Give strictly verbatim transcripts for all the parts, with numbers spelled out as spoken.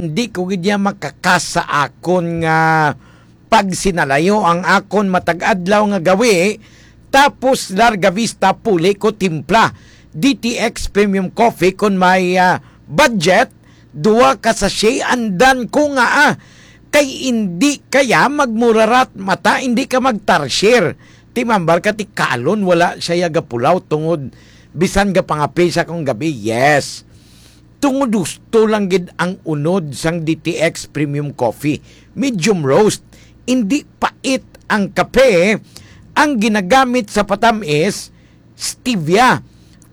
Hindi ko gid niya makakas sa akon nga pagsinalayo ang akon matag adlaw nga gawi, tapos Larga Vista puli ko timpla D T X Premium Coffee kon may, ah, budget, duha ka sachet andan ko nga, ah, kay indi kaya magmurarat mata, indi ka magtarshir. Timambar ka ti kalon, wala siya gapulaw tungod bisan gapangape sa kong gabi. Yes. Tungod husto lang gid ang unod sang D T X Premium Coffee. Medium roast, indi pait ang kape. Ang ginagamit sa patamis, stevia,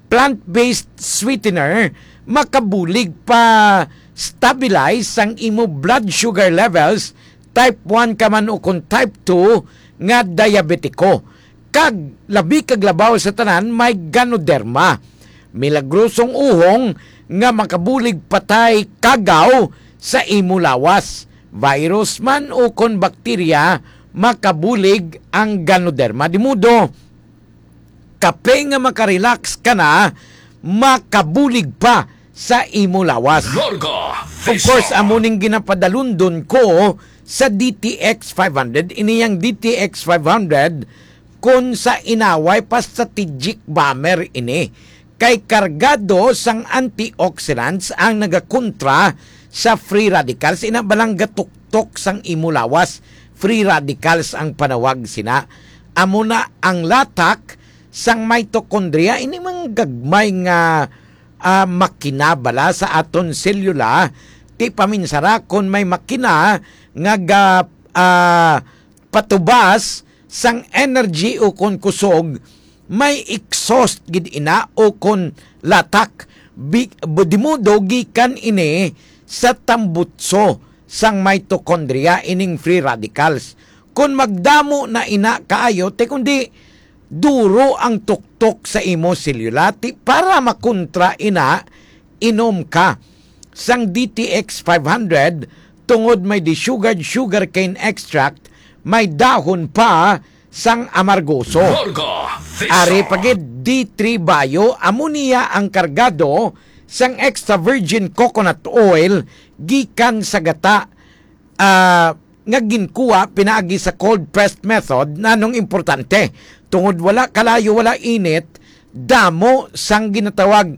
plant-based sweetener, makabulig pa stabilize sang imo blood sugar levels, type one ka man o kon type two nga diabetiko. Kag labi kag labaw sa tanan, may ganoderma. Milagrosong uhong nga makabulig patay kagaw sa imo lawas. Virus man o kon bakterya, makabulig ang ganoderma. Di modo, kape nga makarelax ka na, makabulig pa sa imo lawas. Larga Of course, Vista. Amo ning ginapadalundon ko sa D T X five hundred. Ini yang D T X five hundred, kung sa inaway pa, strategic bomber ini. Kay kargado sang antioxidants ang nagakontra sa free radicals. Ina balang gatuktok sang imo lawas, free radicals ang panawag sina. Amo na ang latak sang mitochondria, ini mga gagmay nga, ah, makina bala sa aton selula. Ti paminsara kon may makina nga ga, ah, patubas sang energy o kon kusog, may exhaust gid ina o kon latak. Bi-, bu-, di modo gikan ini sa tambutso sang mitochondria ining free radicals. Kon magdamo na ina kaayo, ti kundi duro ang tuktok sa imo selula, ti para makontra ina, inom ka sang D T X five hundred tungod may desugared sugarcane extract, may dahon pa sang amargoso. Larga Vista. Ari pa gid D three Bio, amo niya ang kargado sang extra virgin coconut oil gikan sa gata, ah, nga ginkuha pinaagi sa cold pressed method. Nanong importante? Tungod wala kalayo, wala init, damo sang ginatawag,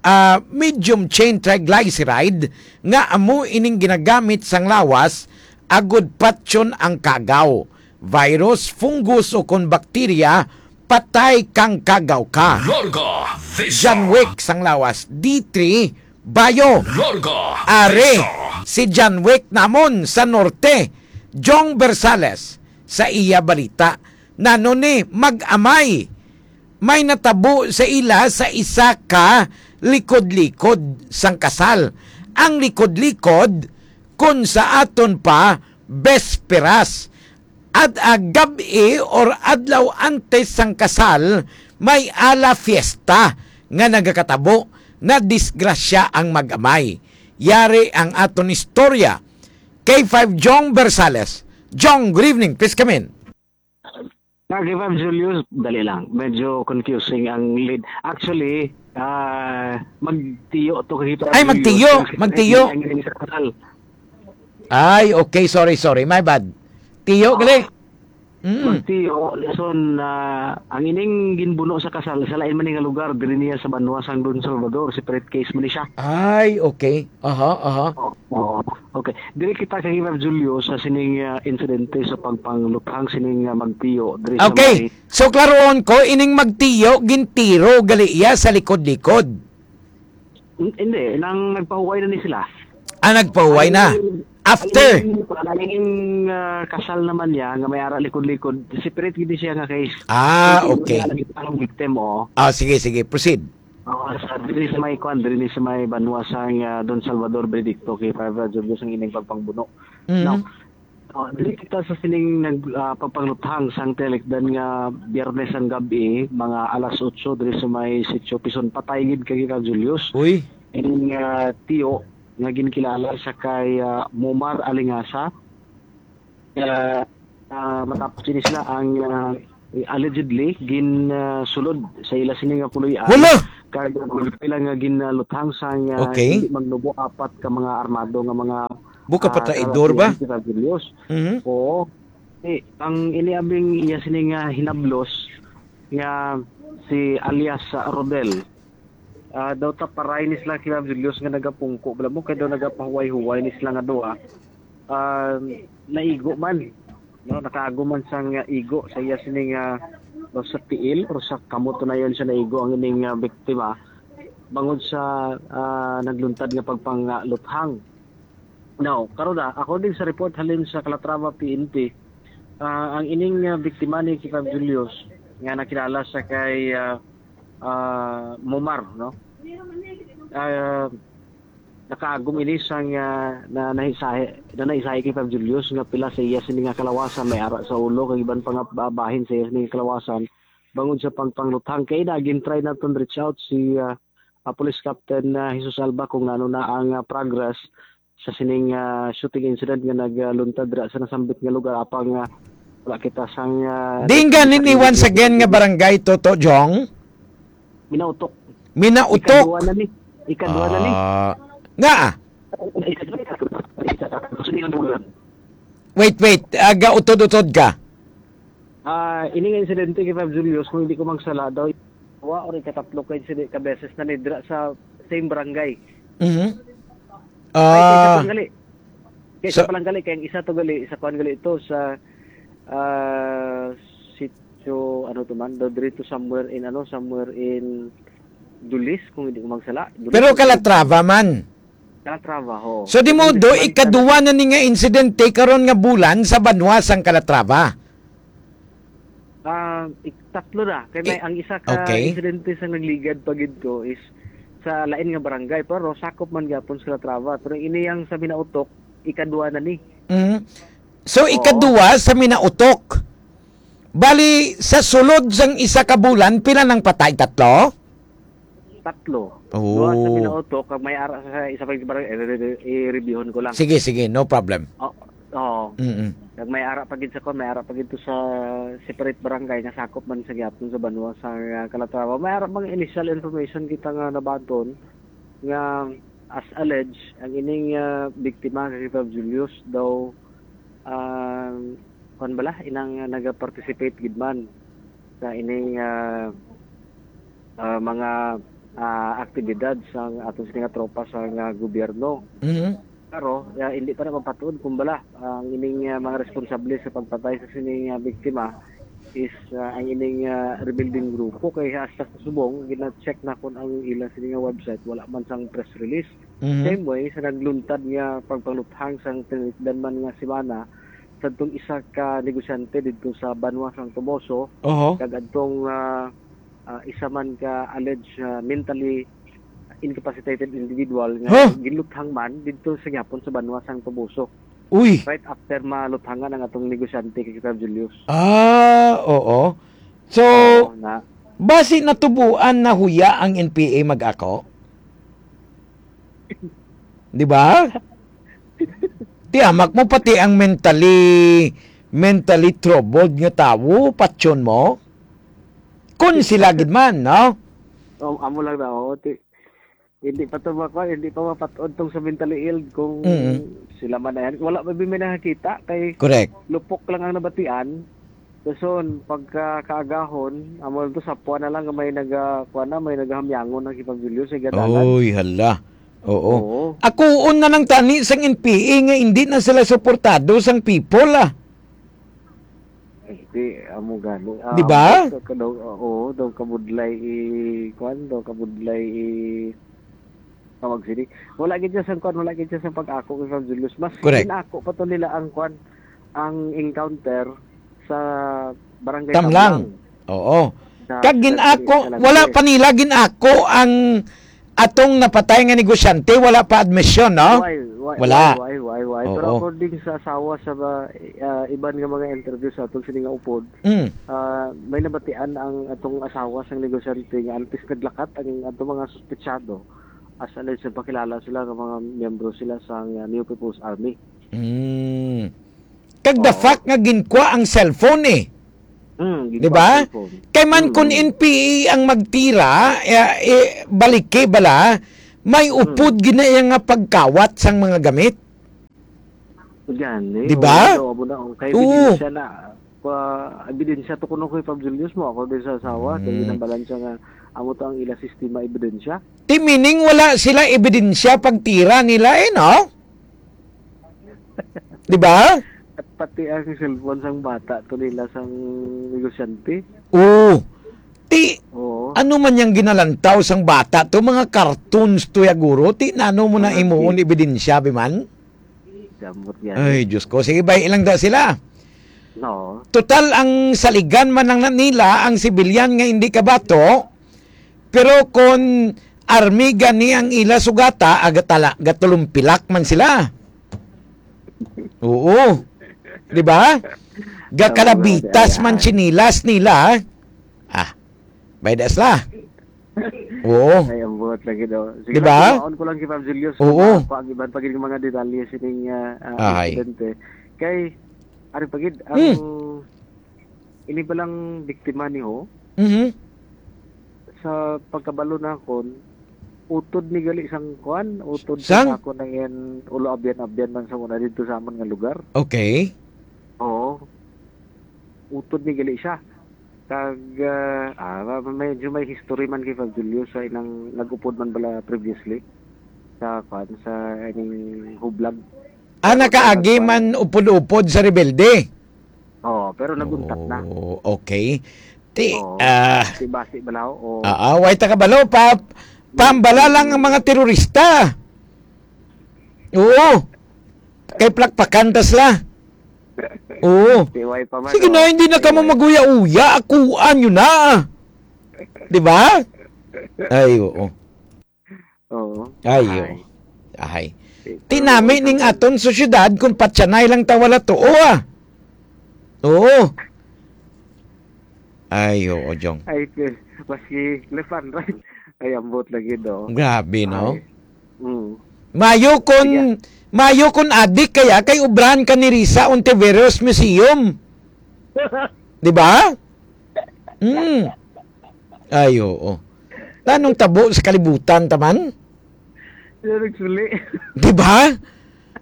ah, medium chain triglyceride nga amo ining ginagamit sang lawas agud patyon ang kagaw. Virus, fungus o kon bakterya, patay kang kagaw ka. Larga Vista. John Wick sang lawas, D three Bio. Larga Ari, Vista. Si John Wick namon sa norte, Jong Bersales, sa iya balita. Nano ni mag-amay? May natabo sa ila sa isa ka likod-likod sang kasal. Ang likod-likod, kun sa aton pa, besperas. At, ah, gab-i or adlaw antes sang kasal, may ala fiesta nga nagakatabo, na disgrasya ang mag-amay. Yari ang aton istorya. K five Jong Bersales. Jong, good evening. Please come in. Ah, K five Julius, dali lang. Medyo confusing ang lead. Actually, ah, magtiyo to kay K five Ay, Julius. Magtiyo, Ang magtiyo. Ang sa kasal. Ay, okay. Sorry, sorry. My bad. Tiyo, Ah. gali. Mm. Magtiyo, listen, ah, ang ining ginbuno sa kasal, sa lain man nga lugar, diri niya sa banwa sang Don Salvador, separate case man ni siya. Ay, okay. Aha, aha. Oo, oo. Okay. Diri kita kay Ma'am Julio sa sining, ah, insidente sa pagpangluthang sining, ah, magtiyo diri sa Okay. may So, klaroon ko, ining magtiyo, gintiro gali iya sa likod-likod. Hin-, hindi, nang nagpahuway na ni sila. Ah, nagpahuway na. Ang, After? ang, ang, ah, kasal naman niya nga may ara likod-likod, separate gid siya nga case. Ah, Hindi okay. Niya nakita ang victim, oh. Ah, sige, sige, proceed. Oo, sa, diri sa may kwan, diri ni sa may banwa sang, ah, Don Salvador Benedicto, kay Father Rodriguez ang ining pagpangbuno. Mm. Now, oh, diri kita sa sining nag-, ah, pagpangluthang sang tinikdan nga Biyernes ang gab-i, mga alas otso diri sa may Sitio Pison, patay gid kay Ka Julius. Uy. Ining, ah, tiyo nga ginkilala sa kay, ah, Momar Alingasa. Ah, ah, matapos ini sila ang, ah, allegedly gin, ah, sulod sa ila sini nga puloy-an. Hala! Kag pila nga ginluthang sang, ah, Okay. hindi magnubo apat ka mga armado nga mga Buka pa ah, traidor ba? Kalapian si Fab Julius. Mhm. Oo. Eh, ang iniabing iya sini nga hinablos nga si alias, ah, Rodel. Ah, daw ta paray ni sila kay Fab Julius nga nagapungko. Bala mo kay daw nagapahuway-huway ni sila nga duha. Ah, naigo man. No, nakaagom man sang, ah, igo sa iya sini nga, ah, sa tiil or sa kamot na yun siya naigo ang ining, ah, biktima bangod sa, ah, nagluntad nga pagpangaluthang. Now, karon na, according sa report halin sa Calatrava P N P, ah, ang ining, ah, biktima ni Kipag Julius nga nakilala sa kay, ah, ah, Momar, no? Ah, nakaagom ini sang, ah, na nahisahi, na nahisahi kay Fab Julius nga pila sa iya sini nga kalawasan may ara sa ulo kag iban pa nga ba-, bahin sa iya sini nga kalawasan bangod sa pagpangluthang. Kay na gin-try naton reach out si, ah, ah, Police Captain, ah, Jesus Alba kung ano na ang, ah, progress sa sining, ah, shooting incident nga nagluntad dira sa nasambit nga lugar apang, ah, wala kita sang, ah, Di nga nini once again nga barangay, Toto Jong? Minautok. Minautok. Ikaduha na ni. Ikaduha na ni. Ah, nga. Ikaduha, ikaduha, ikaduha. Gusto niyo ng bulan? Wait, wait. Aga utod-utod ka. Ah, ini nga insidente kay Fab Julius, kung hindi ko magsala, daw ikaduha or ikatatlo ka insidente, ka beses na ni dira sa same barangay. Mhm. Ay, kay isa Ah, pa gali. Kay isa sa pa lang gali, kay ang isa to gali, isa kuan gali ito sa, ah, sitio, ano to man, daw diri to somewhere in, ano, somewhere in Dulis, kung hindi ko magsala. Dulis Pero ito. Calatrava man. Calatrava, ho. So, di mo Dulis do man, ikaduha na ni nga insidente karon nga bulan sa banwa sang Calatrava? Ah, ik-, tatlo na. Kay may, Eh, ang isa ka okay. insidente sa nagligad pa gid ko is sa lain nga barangay, pero sakop man gyapon sa Calatrava. Pero ini ang sa Minautok, ikaduha na ni. Mm. So, Oo. ikaduha sa Minautok. Bali, sa sulod sang isa ka bulan, pila nang patay? Tatlo? Tatlo. Oh. Duha sa Minautok, kag may ara sa isa pa yung barangay, eh, eh, eh, i-reviewon ko lang. Sige, sige, no problem. Oh, oo. Mm-mm. Kag may ara pa gid sa kon, may ara pa gid to sa separate barangay nga sakop man sa gyapon sa banwa sa, ah, Calatrava. May ara mga initial information kita nga nabaton nga as alleged, ang ining, ah, biktima nga si Fab Julius daw, ah, kuwan bala, inang nagaparticipate gid man sa ining, ah, ah, mga, ah, aktibidad sa atong sini nga tropa sa nga gobyerno. Mhm. Pero, ah, hindi pa na mapatuod kung bala ang ining, ah, mga responsable sa pagpatay sa sining, ah, biktima is, ah, ang ining, ah, rebuilding grupo. Kay hasta sa subong, gina-check na kung ang ilang sini nga website, wala man sang press release. Mhm. Same way, sa nagluntad nga pagpangluthang sang tinilikdan man nga semana, sa tong isa ka negosyante didto sa banwa sang Toboso, Oho. kag adtong, ah, ah, isa man ka alleged, ah, mentally incapacitated individual nga Huh? ginluthang man didto sa gyapon sa banwa sang Toboso. Uy! Right after maluthangan ang atong negosyante kay Sir Julius. Ah, oo. So, Oo, na. basi natubuan na huya ang N P A mag-ako? Di ba? Tiamak mo pati ang mentally, mentally troubled nga tawo, patyon mo? Kun sila gid man, no? Um, amo lang na, oh, ti-, hindi pa to makuha, hindi pa mapatod tong sa mentally ill kung Mm. sila man na yan. Wala pa may nakakita kay Correct. lupok lang ang nabatian. Dason, pagka kaagahon, amo lang to, sapwa na lang nga may naga-, kuha na, may nagahamyangon ng Kipag Julius sa gadalan. Oy, hala. Oo. Oo. Akuon na lang tani sang N P A nga hindi na sila suportado sang people, ah. Eh, di, amo gani. Ah, Di ba? Daw ka-, daw, oo, daw kabudlay i-, kuwan, daw kabudlay i-, tawag sini. Wala gid siya sang kuwan, wala gid siya sang pag-ako kay Fab Julius. Mas Correct. ginako pa to nila ang kuwan, ang encounter sa Barangay Tamlang. Tamlang. Oo. Sa Kag ginako, Sa wala Calatrava. pa nila ginako ang atong napatay nga negosyante, wala pa admisyon, no? Why, why, Wala. why, why, why, why? Pero Oo. according sa asawa sa ba, ah, iban nga mga interview sa atong sini nga upod, Mm. ah, may nabatian ang atong asawa sang negosyante nga antes naglakat ang atong mga suspetsado, as alleged, nagpakilala sila nga mga miyembro sila sa, ah, New People's Army. Mm. Kag the Oo. fact nga ginkwa ang cellphone, eh. Mm, Di ba? ginkwa ang cellphone. Kay man Mm, kun mm. N P A ang magtira, eh, eh, balike bala, may Mm. upod gid na iya nga pagkawat sang mga gamit. Gani, Di ba? Oo, amo na, ang kay Oo. ebidensya na, pa, ebidensya to kuno kay Fab Julius mo, ako din sa asawa, kay Mm. ginambalan siya nga, amo to ang ila sistema ebidensya. Ti meaning wala sila ebidensya pagtira nila eh, no? Di ba? At pati ang cellphone sang bata to nila sang negosyante. Oo. Ti, Oo. ano man yang ginalantaw sang bata to, mga cartoons to ya, guro? Ti, nano mo na Mga imuon kid. ebidensya, bi man? Damot yan. Ay, Diyos ko. Sige, bay, ilang da sila. No. Total, ang saligan man lang na nila, ang sibilyan nga hindi kabato, pero kon army gani ang ila sugata, agatala, gatulumpilac man sila. Oo. Di ba? Gakalabitas Tama, man ay, ay. sinilas nila. Ah, baydas la. Oo. Ay, ang buhat lagi daw. Sige Di ba? lang, kumaon ko lang kay Fab Julius. Oo. Kung ako, ang iban pa gid mga detalye sining, ah, ah, Ahay. insidente. Kay, ari pa gid, ang Hmm. ini palang biktima ni ho, Mhm. sa pagkabalo nakon, utod ni gali sang kuan, utod Sang? sa ako na yan, ulo abyan-abyan man sa una dito sa amon nga lugar. Okay. Oo. Utod ni gali siya. Kag, ah, ah, ma-, medyo may history man kay Fab Julius sa inang nag-upod man bala previously sa, kuan, sa ining hublag. Ah, Pero nakaagi nagkuan. man upod-upod sa rebelde? Oo, pero naguntat na. Oh, okay. Ti, Oo. ah, Basi-basi bala, oo. ah, ah, way ta kabalo, pa, pambala lang ang mga terorista. Oo. Kay plakpakan ta sila. Oo. Ti, way pa man, Sige oh. na, hindi na Ti, kamo way. mag-uya-uya. Akuan nyo na. Di ba? Ay, oo. Oo. Ay, Ay. oo. Ay. Ti, Tinami pero ning ikaw aton sosyedad kung patyanay lang ta wala tuo, ah. Oo. Ay, oo, Jong. Ay, te, maski left and right. Ay, ambot lagi, no? Grabe, no? Ay. Mm. Mayo kun, Sige. mayo kun adik kaya kay ubrahan ka ni Risa Ontiveros Museum. Di ba? Mm. Ay, oo. Tanong tabo sa kalibutan, taman? Sila nagsuli. Di ba?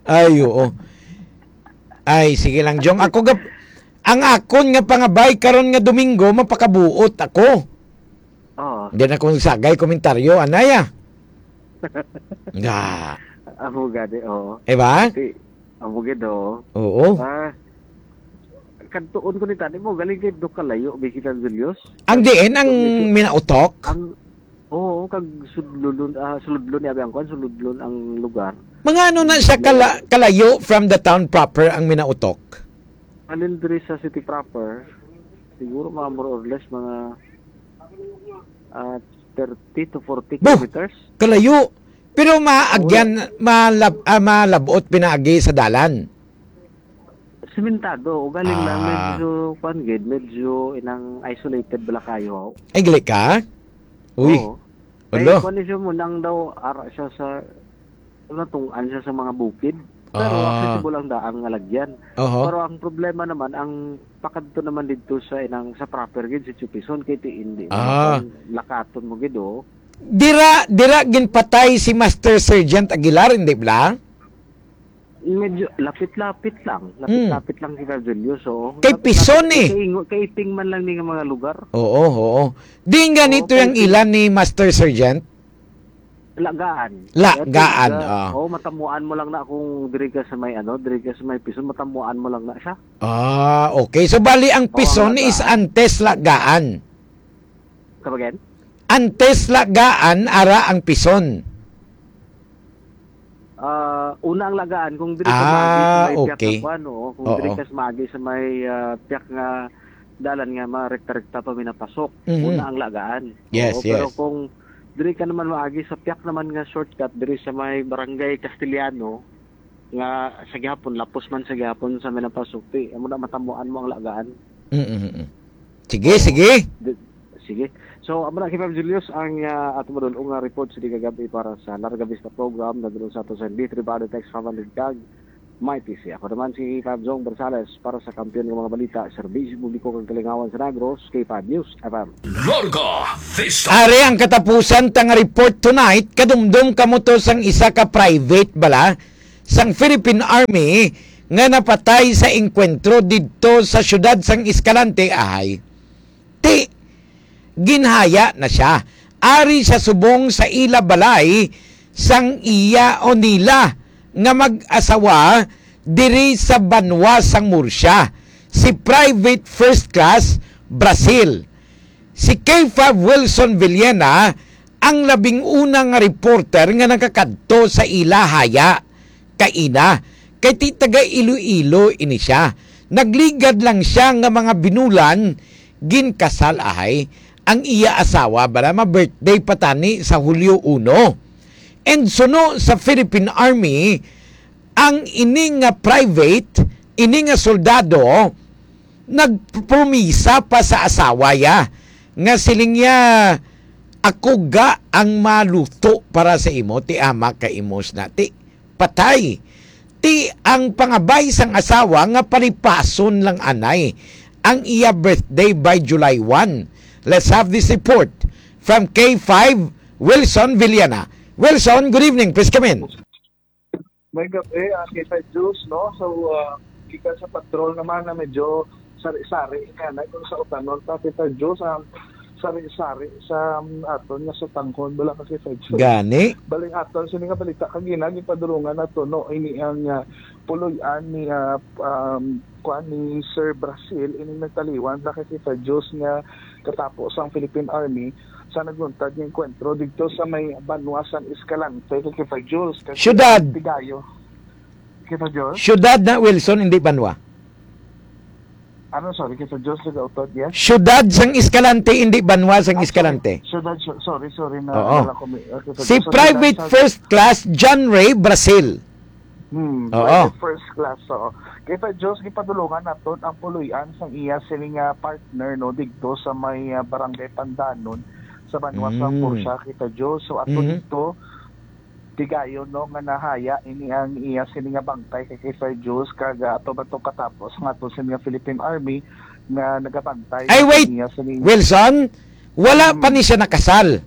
Ay, oo. Ay, sige lang, Jong. Ako gap-, ang akon nga pangabay karon nga Domingo, mapakabuot ako. Oo. Di na akong sagay komentaryo, anay, ah. Nga. Amo gani, oo. Di ba? Ti, amo gid, oo. Oo. Ah, kadtuon ko ni tani mo, galing kay do kalayo, Bikita Julius. Ang diin, ang Kung ito, minautok? ang, oo, kag sudlulon, ah, suludlon ni Abi ang kwan, suludlon ang lugar. Mga ano na siya Kalayo. kala-, kalayo from the town proper ang minautok? Halin diri sa city proper, siguro mga more or less mga, ah, thirty to forty Bo! kilometers. Kalayo. Pero maagyan, Oo. malab-, ah, malabot pinaagi sa dalan. Sementado, ugaling lang, Ah. medyo, kwan gid, medyo inang isolated bala kayo. Ay, gali ka? Uy. Oo. Ulo. Kay kwan ni siya mo, nang daw, ara siya sa, natunggan siya sa mga bukid. Pero Ah. accessible ang daan nga lagyan. Oho. Pero ang problema naman, ang pakadto naman didto sa inang, sa proper gid, sa Chupison, kay ti hindi mo Ah. kan-, lakaton mo gid, oh. Dira, dira ginpatay si Master Sergeant Aguilar, hindi bala? Medyo lapit-lapit lang. Hmm. Lapit-lapit lang si Virgilio. So, Kay lapit-lapit Pison, eh. Kay ingo-, kay iping man lang ni nga mga lugar. Oo, oo. Di nga Oo, nito kay yung iping ilan ni Master Sergeant? Lagaan. Lagaan, Kaya, ah. oh, matamuan mo lang na kung diri ka sa may, ano, diri ka sa may Pison, matamuan mo lang na siya. Ah, okay. So, bali, ang Oo, Pison ang is Lagaan. antes Lagaan. Come again? Antes Lagaan, ara ang Pison. Ah, una ang Lagaan, kung diri ka Ah, maagi sa may piyak okay. nga kuan, oo, kung diri Oo. ka sa maagi sa may, ah, piyak nga dalan nga marekta-rekta pa minapasok, Mhm. una ang Lagaan. Yes, Oo, pero yes. kung diri ka naman maagi sa piyak naman nga shortcut, diri sa may Barangay Castellano, nga sa gihapon, lapos man sa gihapon sa minapasok, ti, amo na matamuan mo ang Lagaan. Mm, mm, mm. Sige, Oo. sige. Di-, sige. So, amo na, Kevin Julius, ang, ah, ato madul-ong nga report sa di kagabi para sa Larga Vista Program. Nadulong sa ato sa D three Body Text five hundred kag May P C. Ako naman si Fab Zong Bersales para sa Kampiyon nga mga Balita, Serbisyo Publiko kag Kalingawan sa Negros, K five News F M. Larga Vista. Ari ang katapusan ta nga report tonight. Kadumdom kamo to sang isa ka private bala sang Philippine Army nga napatay sa engkwentro didto sa siyudad sang Escalante, ahay. Ti, ginhaya na sia. Ari siya subong sa ila balay sang iya o nila nga mag-asawa diri sa banwa sang Murcia, si Private First Class Brazil. Si K five Wilson Villena ang labing una nga reporter nga nakakadto sa ila haya kaina, kay ti taga Iloilo ini sia. Nagligad lang sia nga mga binulan, ginkasal, ahay. Ang iya asawa bala ma-birthday pa tani sa Hulyo uno. And suno sa Philippine Army, ang ini nga private, ini nga soldado, nagpromisa pa sa asawa ya nga siling niya, "Ako ga ang maluto para sa imo, ti ama ka imos na, ti patay." Ti ang pangabay sang asawa nga palipason lang anay ang iya birthday by July one. Let's have this report from K five, Wilson Villana. Wilson, good evening. Please come in. May gabi, ah, K five Jules, no? So, ah, gikan sa patrol naman na medyo sari-sari nga na kung sa utanon pa, K five Jules, ang sari-sari sa, um, aton nga sa tanghon, wala ka, K five Jules. Gani? Baling aton, sini nga balita kagina, gipadulungan nato, no? Ini ang, ah, puloy-an ni, ah, um, kuan ni Sir Brazil, ini nagtaliwan na kay K five Jules nga katapo sang Philippine Army sa nagluntad nga engkwentro didto sa may banwa sang Escalante, kay K five Jules. Kay Siyudad. Tigayo. K five Jules? Siyudad na, Wilson, hindi banwa. Ano, sorry, K five Jules, nag-utod, yes? Siyudad sang Escalante, hindi banwa sang Ah, sorry. Escalante. Siyudad, so-, sorry, sorry, na, Oo. wala ko may, okay, so, Si so, Private siyudad sa First Class John Ray Brazil. Hmm, Oo. Private First Class, oo. K five Jules, gipadulungan naton ang puloy-an sang iya sini nga partner, no, didto sa may, ah, Barangay Pandanon, sa banwa sa Mm. Murcia, K five Jules. So, ato Mhm. didto, tigayon, no, nga nahaya ini ang iya sini nga bangkay kay K five Jules, kag, ah, ato ba to katapos nga ato sini nga Philippine Army nga nagabantay Ay, sa wait! iya sini Wilson, wala pa Mm. ni siya nakasal.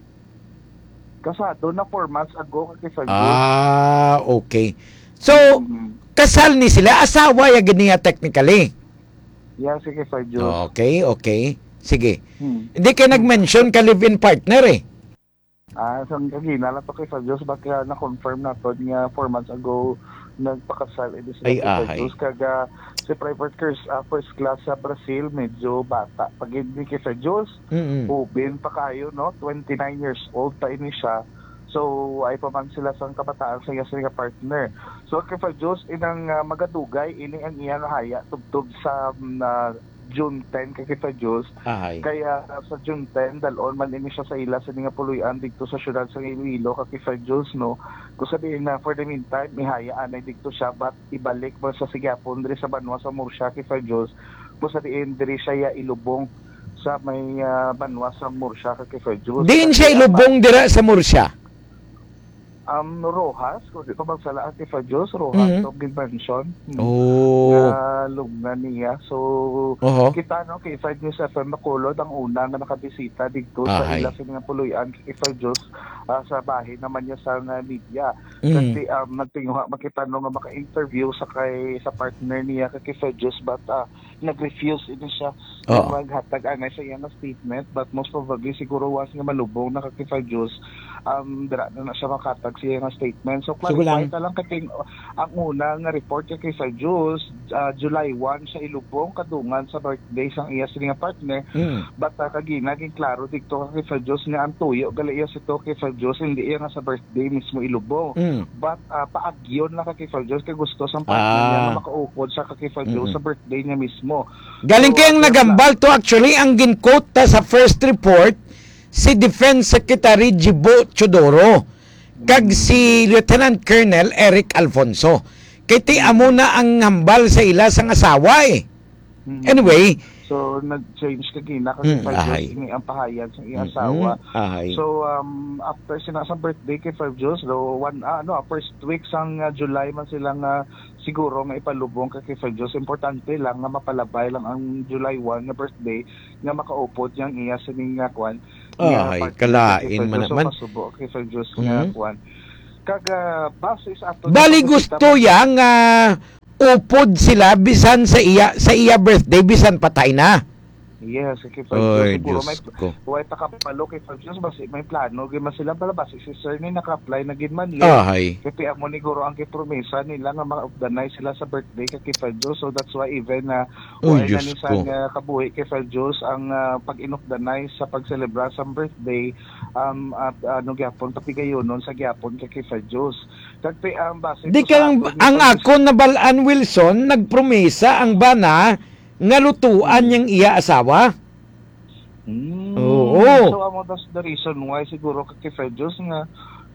Kasado na four months ago, kay K five Jules. Ah, okay. So, Mm. kasal ni sila, asawa ya gid niya technically. Yeah, sige, K five Jules. Okay, okay. Sige. Hmm. Hindi kay nag-mention ka live-in partner eh. Ah, sang kagina lang to, K five Jules, but, ah, na-confirm naton nga four months ago nagpakasal ini sila, Ay, K five ahay. Jules. Kag, ah, si Private Kers-, ah, First Class sa Brazil, medyo bata pa gid ni, K five Jules. Mm-mm. Ubin pa kayo, no? Twenty-nine years old pa ini siya. So, ay pa man sila sang kabataan sa iya sila nga partner. So, K five Jules, inang, ah, magadugay, ini ang iya nga haya tubtob sa, mm, ah, June ten, kay K five Jules. Ahay. Kaya, ah, sa June ten, dalon man ini siya sa ila sa nga puloy-an didto sa siyudad sa Iloilo, kay K five Jules, no? Kung sa diin na, for the meantime, ihaya anay didto siya, but ibalik mo sa sigyapon diri sa banwa sa Murcia, K five Jules. Kung sa diin, diri siya ya ilubong sa may, ah, banwa sa Murcia, kay K five Jules. Diin siya Kaya, ilubong dira sa Murcia? Um, Roxas, kung di ko magsala, K five Jules, Roxas, Mhm. to, Gilmansion. Hmm. Oh. Nga lubngan niya. So, Oho. kita, no, K five News F M Bacolod, ang una nga nakabisita didto sa Ahay. ila sa mga puloy-an, K five Jules, ah, sa bahin naman niya sa nga media. Mhm. Kasi, um, nagtinguha man kita, no, nga maka-interview sa kay, sa partner niya, kay K five Jules, but, ah, nag-refuse ini siya Oo. nga maghatag anay sa iya nga statement, but most probably siguro once nga malubong na ka K five Jules, um, dira na na siya makatag sa iya nga statement. So, So, clarify kulang. ta lang, kay ang una nga report kay K five Jules, ah, July one siya ilubong kadungan sa birthday sang iya sini nga partner. Mm. But, ah, kagina, ginklaro didto kay K five Jules nga ang tuyo gali iya sa to kay K five Jules, hindi iya nga sa birthday mismo ilubong. Mm. But, ah, paagyon na ka K five Jules kay gusto sang partner niya Ah. nga makaupod sa ka K five Jules Mm-mm. sa birthday niya mismo. Galing So, kay ang ah, nagambal to, actually, ang gin-quote ta sa first report, si Defense Secretary Jibo Teodoro, kag Mm. si Lieutenant Colonel Eric Alfonso. Kay ti Mm. amo na ang hambal sa ila sang asawa eh. Mm. Anyway. So, nag-change kagina kay Mm, K five Jules, ahay. ini ang pahayag sa iyang Mm, asawa. ahay. So, um, after sina sa birthday kay K five Jules, so, one, ah, ano, first week sang, ah, July man sila nga siguro nga ipalubong kay K five Jules. Importante lang nga mapalabay lang ang July one nga birthday nga makaupod niyang iya sini nga kwan, nga Ay, partner kalain kay K five man Jules. So, naman. Pasubo kay K five Jules nga Mhm. kwan. Kag, ah, base sa ato Bali na gusto pagkita- yang, ah, upod sila bisan sa iya, sa iya birthday, bisan patay na. Yes, okay, Fred. Oy, Siguro may Diyos ko. Way ta kabalo kay Fred Jones, basi may plano gyud man sila, bala, basi si Sir ni naka-apply na gid man, eh. Ahay. Kay amo ni guro ang gipromisa nila nga ma-organize sila sa birthday kay, kay Fred Jones. So that's why even na Oy, way na Diyos ni San ko. nga kabuhi kay Fred Jones ang, ah, pag-inokdanay sa pagselebrar sa birthday, um, at ano gyapon, patigayonon sa gyapon kay, kay Fred Jones. Kag pi-, um, base Di po sa kang, aton ang nga akon nabal-an, Wilson, nagpromisa ang bana nga lutuan Hmm. niyang iya asawa. Hmm. Oo. So, amo, that's the reason why siguro ka kay Fred Jones nga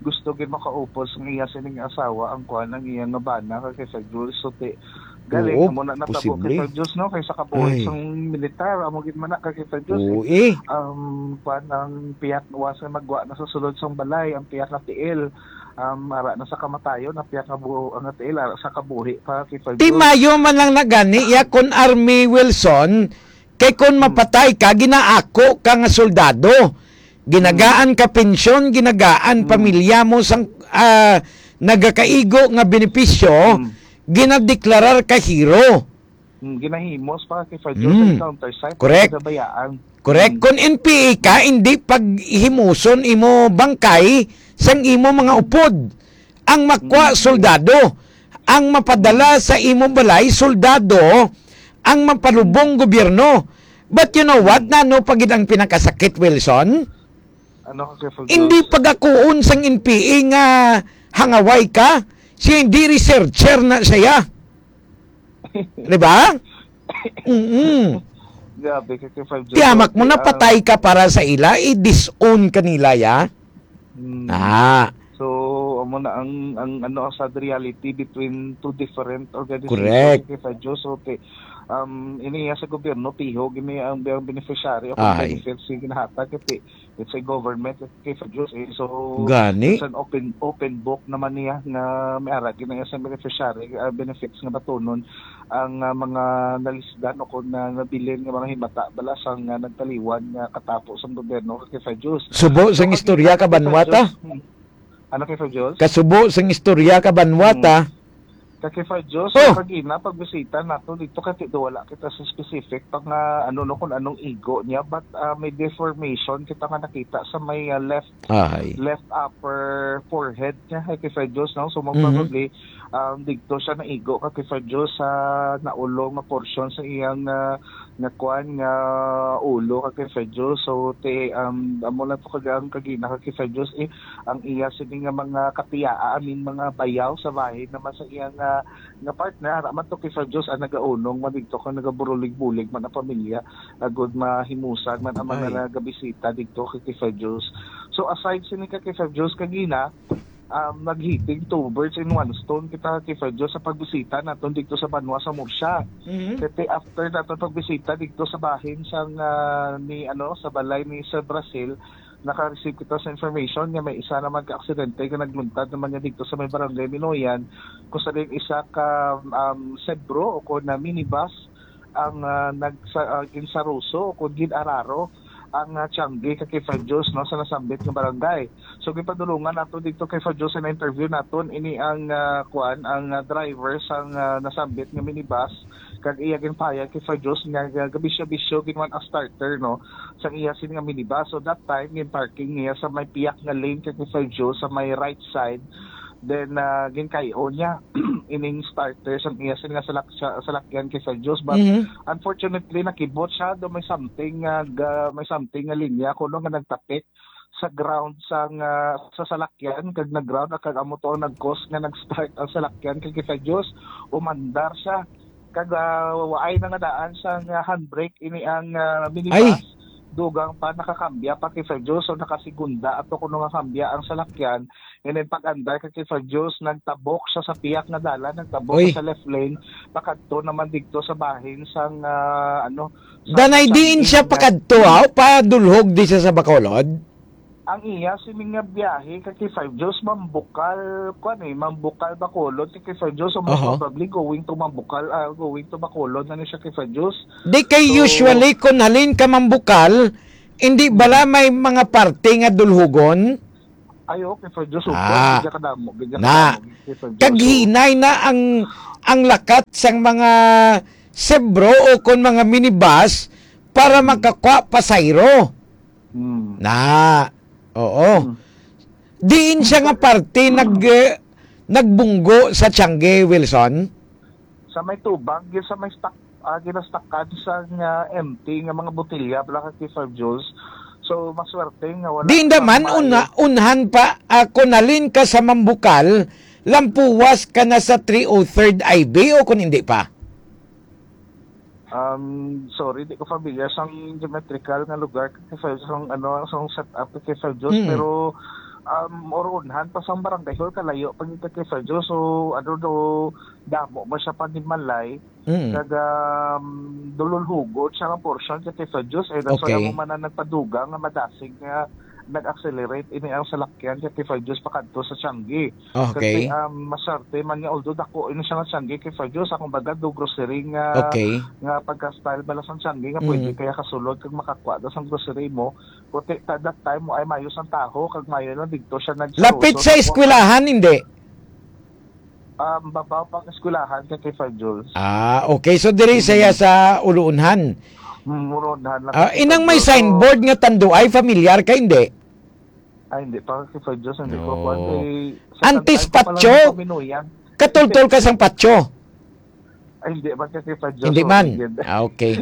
gusto gid makaupos nga iya sining asawa ang kuan, ang iya nga bana ka kay Fred Jones. So, ti-, galing Oo, amo na natabo posible. kay Fred Jones, no? Kay sa kabuhi Ay. sang militar, amo gid man na ka kay Fred Jones, Oo, eh. eh. Um, kuan, ang piyak was nga magwa na sa sulod sang balay, ang piyak nga tiil, um, ara na sa kamatayon, ang piyak nga buo, ang tiil, ara sa kabuhi pa kay Fred Ti Jones. Mayo man lang na gani, ya kon Army Wilson, kay kon Hmm. mapatay ka, ginaako ka nga soldado. Ginagaan Hmm. ka pensyon, ginagaan Hmm. pamilya mo sang, ah, nagakaigo nga benepisyo, Hmm. ginadeklarar ka hero. Hmm, ginahimos pa kay Fred Jones sa Hmm. encounter site, Correct. sa bayaan. Correct. Hmm. Kung N P A ka, hindi paghimuson imo bangkay sang imo mga Hmm. upod. Ang makwa, Mm. soldado. Ang mapadala Mm. sa imong balay, soldado. Ang mapalubong, Mm. gobyerno. But you know what? Mm. Nano pa gid ang pinakasakit, Wilson? Ano ka, Sir Fabio? Hindi pagakuon sang N P A nga hangaway ka. Siya hindi researcher na siya. Di ba? Mm-mm. Grabe ka, Sir Fabio. Tiyamak mo, Ang napatay ka para sa ila, i-disown ka nila, ya? Hmm. Ah. So, amo na ang, ang, ano, ang sad reality between two different organizations, Correct. Kay Fabio. So, ti-, um, ini iya sa gobyerno, piho gini ang, ang beneficiary o Ay. benefits nga ginahatag, kay it's a government, kay Fabio, eh. So, Gani. it's an open, open book naman niya nga may ara gid na iya sa beneficiary, ah, benefits nga batunon ang, ah, mga nalisdan o kung na nabilin nga mga himata bala sang, ah, nagtaliwan nga katapo sang gobyerno kay Fred Jones. Subo sang So, istorya ka, kay Fred Banwata? Jones, hmm. Ano kay Fred Jones? Kasubo sang istorya ka, Banwata? Hmm. Kay Fred Jones, Oh. so, kagina, pagbisita nato dito, kay ti-, wala kita sa specific pa nga, ano, no, kung anong igo niya, but, ah, may deformation kita nga nakita sa may, ah, left Ahay. left upper forehead niya, kay Fred Jones, no? So, mo Mhm. probably, um, dito siya naigo ka kay Fred Jones sa naulong nga portion sa iyang, ah, nga kwan, nga ulo ka kay Fred Jones. So, ti-, um, amo lang to kag-, ang kagina ka kay Fred Jones, eh, ang iya sini nga mga katiyaa, I mean, mga bayaw sa bahin naman sa iyang, ah, nga partner, ara man to kay Fred Jones, ang nagaunong man dito kung nagaburulig-bulig man ang pamilya, agud mahimusan man ang mga Ay. nagabisita dito kay, kay Fred Jones. So, aside sini ka kay Fred Jones, kagina, um, naghiting two birds in one stone kita kay Fred Jones sa pagbisita naton dito sa banwa sa Murcia. Mhm. Kay after naton pagbisita dito sa bahin sang, ah, ni, ano, sa balay ni Sir Brazil, naka-receive kita sa information nga may isa naman ka aksidente nga nagluntad naman niya dito sa may barangay Minoyan, kung sa din isa ka, um, sebro o kung na minibus ang, ah, nagsa-, ah, ginsaruso o kung gin-araro ang, ah, tiyangge ka kay Fred Jones, no, sa nasambit nga barangay. So, gipadulungan nato dito kay Fred Jones sa interview naton ini ang, ah, kuan, ang, ah, driver sang, ah, nasambit nga minibus kag iya ginpahayag kay Fred Jones nga, nga gabisyo-bisyo ginwan ang starter, no, sang iya sini nga minibus. So, that time, gin-parking niya sa may piyak nga lane kay Fred Jones sa may right side. Then, ah, ginkay-o niya ining starter sang iya sini nga salak-, sa-, salakyan kay Fred Jones. But Mhm. unfortunately, nakibot siya. Do may something nga ga-, may something nga linya kuno nga nagtapik sa ground sang, ah, sa salakyan, kag nag-ground, kag amo to ang nag-cause nga nag-start ang salakyan kay Fred Jones, umandar siya. Kag, ah, waay na nga daan sang, ah, handbrake ini ang, ah, minibus. Ay. Dugang pa nakakambya pa kay Fred Jones, so nakasegunda ato kuno nga kambya ang salakyan. And then pag-andar kay Fred Jones, nagtabok siya sa piyak nga dalan, nagtabok Oy. siya sa left lane, pakadto naman dito sa bahin sang, ah, ano, sa Danay diin siya Sangkay. pakadto, ha? O padulhog di siya sa Bacolod? Ang iya sini nga biyahe ka kay Fred Jones, Mambukal, kuan eh, Mambukal, Bacolod, kay Fred Jones, so most Aha. probably going to Mambukal, ah, going to Bacolod na ni siya kay Fred Jones. Di kay So, usually kung halin ka Mambukal, hindi bala may mga parte nga dulhugon? Ay, okay, Sir Joe, super. Ah. Bigyan ka damo, bigyan ka Na. damo, Sir Joe. Kaghinay na ang, ang lakat sang mga sebro o kon mga minibus para Hmm. makakuha pasayro. Hmm. Na. Oo. Hmm. Diin siya nga parte nag, eh, nagbunggo sa Tiangge, Wilson? Sa may tubang, yun sa may stock, ah, ginastakan sa nga empty nga mga botelya, bala ka kay Sir Jules. So, maswerte nga wala Di pa naman, maayo. una-, unhan pa, ah, kung nalin ka sa Mambukal, lampuwas ka na sa three oh third I B o kung hindi pa? Um, sorry, di ko familiar sang geometrical nga lugar kay Sir Jules, sang, ano, sang setup kay Sir Jules, Mm. pero, um, or unhan pa sang barangay hall, kalayo pa gyud kay Sir Jules. So, ano do, damo man siya panimalay, Mm. kag, um, dululhugon siya nga portion kay Sir Jules, eh, that's why Okay. amo man ang nagpadugang nga madasig nga nag-accelerate ini ang salakyan kay Sir Jules pakadto sa Tiangge. Okay. Kasi, um, maswerte man nga, although dako ini siya nga Tiangge kay Sir Jules, akong baga do grocery nga, Okay. nga pagka-style bala sang Tiangge nga pwede Mm. kaya kasulod kag makakuha daw sang grocery mo. Kuti ta-, that time mo ay mayo sang taho, kag mayo lang didto siya nagsaruso. Lapit sa eskwelahan, hindi? Um, babaw pang eskwelahan kay, kay Sir Jules. Ah, okay. So, diri Mm. siya sa Uluunhan. Mm, Uluunhan lang Ah, kay inang Sir may Jules. So, signboard nga Tanduay, familiar ka, hindi? Ay, hindi pa kay Sir Jules, hindi ko No. kuwan kay, sa Antes Tanduay ko pa lang Patio? nagpaminuyan. Katultol ka sang Patio? Ay, hindi man kay Sir Jules, Hindi so, man. hindi. Ah, okay.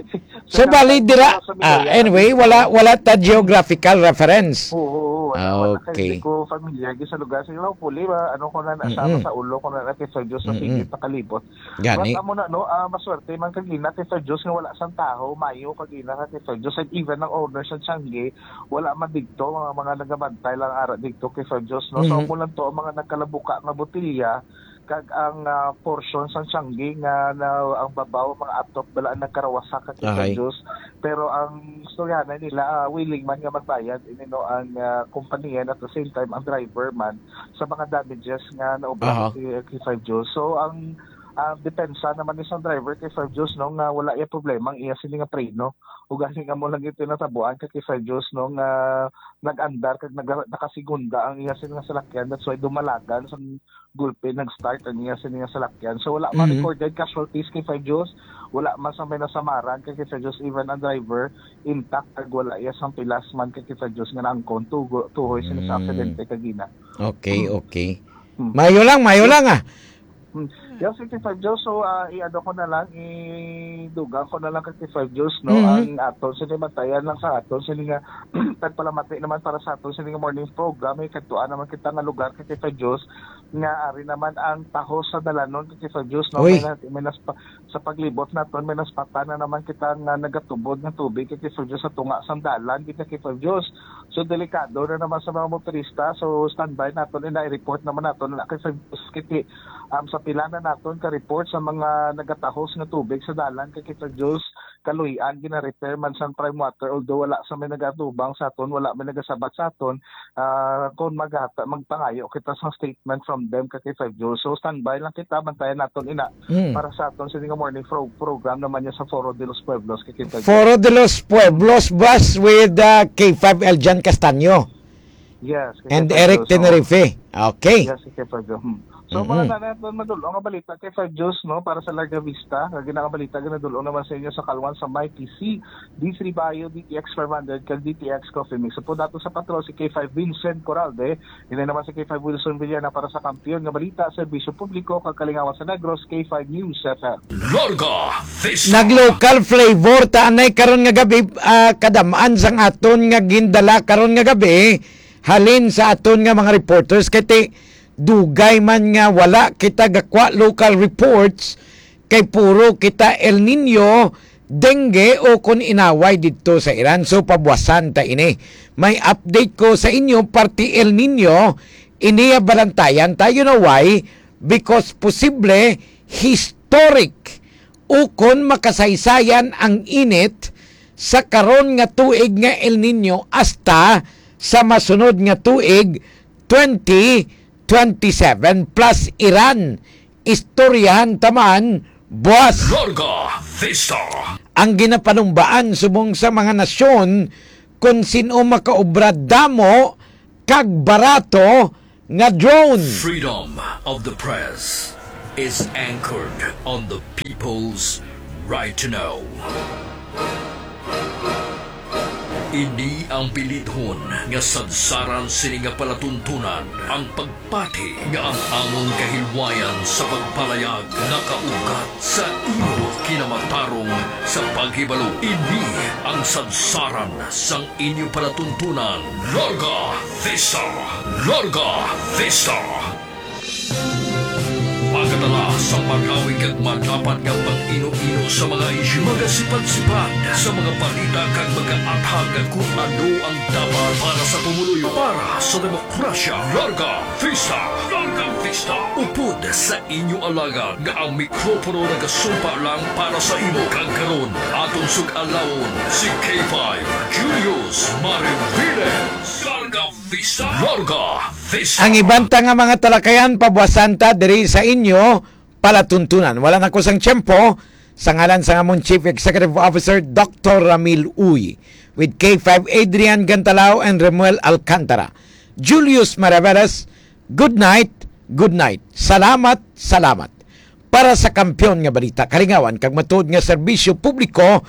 Sa So, bali, Tanduay ko dira, pa lang sa ah, Minuyan, anyway, hindi wala, ko wala ta geographical reference. Oo, oo, wala, Ah, wala kay, okay. hindi ko familiar sa lugar. So, hopefully, ma-, ano ko na, nasa, Mm-mm. sa ulo ko na, na kay Sir Jules, sa Mm-mm. sige, pakalibot. Gani. But amo na, no, ah, maswerte man kagina kay Sir Jules nga wala sang taho, mayo kagina ka kay Sir Jules, and even ang owner sa Tiangge, wala man didto, mga, mga nagabantay lang ara didto kay Sir Jules, no? So, Mhm. amo lang to ang mga nagkalabuka nga botelya, kag ang, ah, portion sang Tiangge nga na, ang babaw, mga atop, bala ang nagkarawasa ka kay Sir Ahay. Jules. Pero ang istoryahanay nila, ah, willing man nga magbayad, ini, no, ang, ah, kumpanya, and at the same time, ang driver man, sa mga damages nga naobra Aha. kay, kay Sir Jules. So, ang, ah, depensa naman ni sa driver kay Sir Jules, no, nga wala iya problema ang iya sini nga preno. Ugaling amo lang ito natabuan kay, kay Sir Jules, no, nga nag-andar kag nag-, nakasigunda ang iya sini nga salakyan. That's why dumalagan sa gulpi nag-start ang iya sini nga salakyan. So, wala man Mhm. recorded casualties kay Sir Jules. Wala man sa may nasamaran kay, kay Sir Jules. Even ang driver, intact, kag wala iya sang pilas man kay, kay Sir Jules nga naangkon tugo-, tuhoy sini sa Mm. aksidente kagina. Okay, Mm. okay. Mm. Mayo lang, mayo Yes. lang, ah. Mm. Yes, kay, kay Sir Jules. So, ah, i-ano ko na lang, idugang ko na lang kay, kay Sir Jules, no? Mhm. Ang aton sini, bantayan lang sa aton sini nga pagpalamati naman para sa aton sini nga morning program. May kadtuan naman kita nga lugar kay, kay Sir Jules nga ari naman ang taho sa dalanon kay, kay Sir Jules, no? Uy. May na-, may naspa-, sa paglibot naton, may naspatan na naman kita nga nagatubod nga tubig kay, kay Sir Jules sa tunga sang dalan, kay, kay Sir Jules. So, delikado na naman sa mga motorista. So, standby naton, ina, i-report naman naton na kay Sir Jules, kay, um, sa pila na naton ka-report sa mga nagatahos nga tubig sa dalan kay, kay Sir Jules, kaluy-an, gina-repair man sang Prime Water, although wala sa may nagatubang sa aton, wala may nagasabat sa aton, ah, kung maghata-, magpangayo kita sa statement from them kay, kay Sir Jules. So, standby lang kita, bantayan naton ina Mm. para sa aton sini nga morning pro-, program naman niya sa Foro de los Pueblos kay, kay Sir Jules. Foro de los Pueblos bus with, uh, K five Eljan Castaño Yes, kay and Sir Eric Jules, oo. Tenerife. Okay. Yes, kay Sir Jules. Hmm. So, Mm-mm. mga nanay at madul-ong nga balita kay Sir Jules, no, para sa Larga Vista, nga ginabalita, ginadul-ong naman sa inyo sa Kalwan sa Mighty C, D three Bayo, D T X five hundred, kag D T X Coffee Mix. Sa po dato sa patrol, si K five Vincent Coralde, ini naman si K five Wilson Villana para sa Kampiyon nga Balita, Serbisyo Publiko, kag Kalingawan sa Negros, K five News F M. Larga Vista. Nag-local flavor ta anay karon nga gabi, ah, kadam-an sang aton nga gindala karon nga gabi, halin sa aton nga mga reporters, kay ti-, dugay man nga wala kita gakwa local reports, kay puro kita El Nino, dengue, o kon inaway didto sa Iran. So, pabuwasan ta ini. May update ko sa inyo, parte El Nino, ini ya balantayan ta. You know why? Because posible historic ukon makasaysayan ang init sa karon nga tuig nga El Nino hasta sa masunod nga tuig, twenty twenty-seven plus Iran. Istoryahan ta man buwas. Larga Vista. Ang ginapanumbaan subong sa mga nasyon kung sin-o makaobra damo kag barato nga drone. Freedom of the press is anchored on the people's right to know. Ini ang bilidhon nga sadsaran sini nga palatuntunan, ang pagpati nga ang amon kahilwayan sa pagpalayag nakaugat sa imo kinamatarong sa paghibalo. Ini ang sadsaran sang inyo palatuntunan. Larga Vista! Larga Vista! Magadala sa marawi kag madapat nga pag-ino-ino sa mga isyu, magasipad-sipad sa mga balita kag magaathag kon ano ang dapat para sa pumuluyo, para sa demokrasya. Larga Vista! Larga Vista! Upod sa inyo alagad nga ang mikropono nagasumpa lang para sa imo, kag karon aton sug-alawon si K five Julius Mariviles. Larga Vista! Larga Vista! Ang iban ta nga mga talakayan, pabuasan ta diri sa inyo palatuntunan. Wala na ko sang tiyempo, sa ngalan sang amon Chief Executive Officer, Doctor Ramil Uy, with K five Adrian Gantalao and Remuel Alcantara, Julius Maraveles, good night, good night. Salamat, salamat. Para sa kampiyon nga balita, kalingawan, kag matuod nga serbisyo publiko,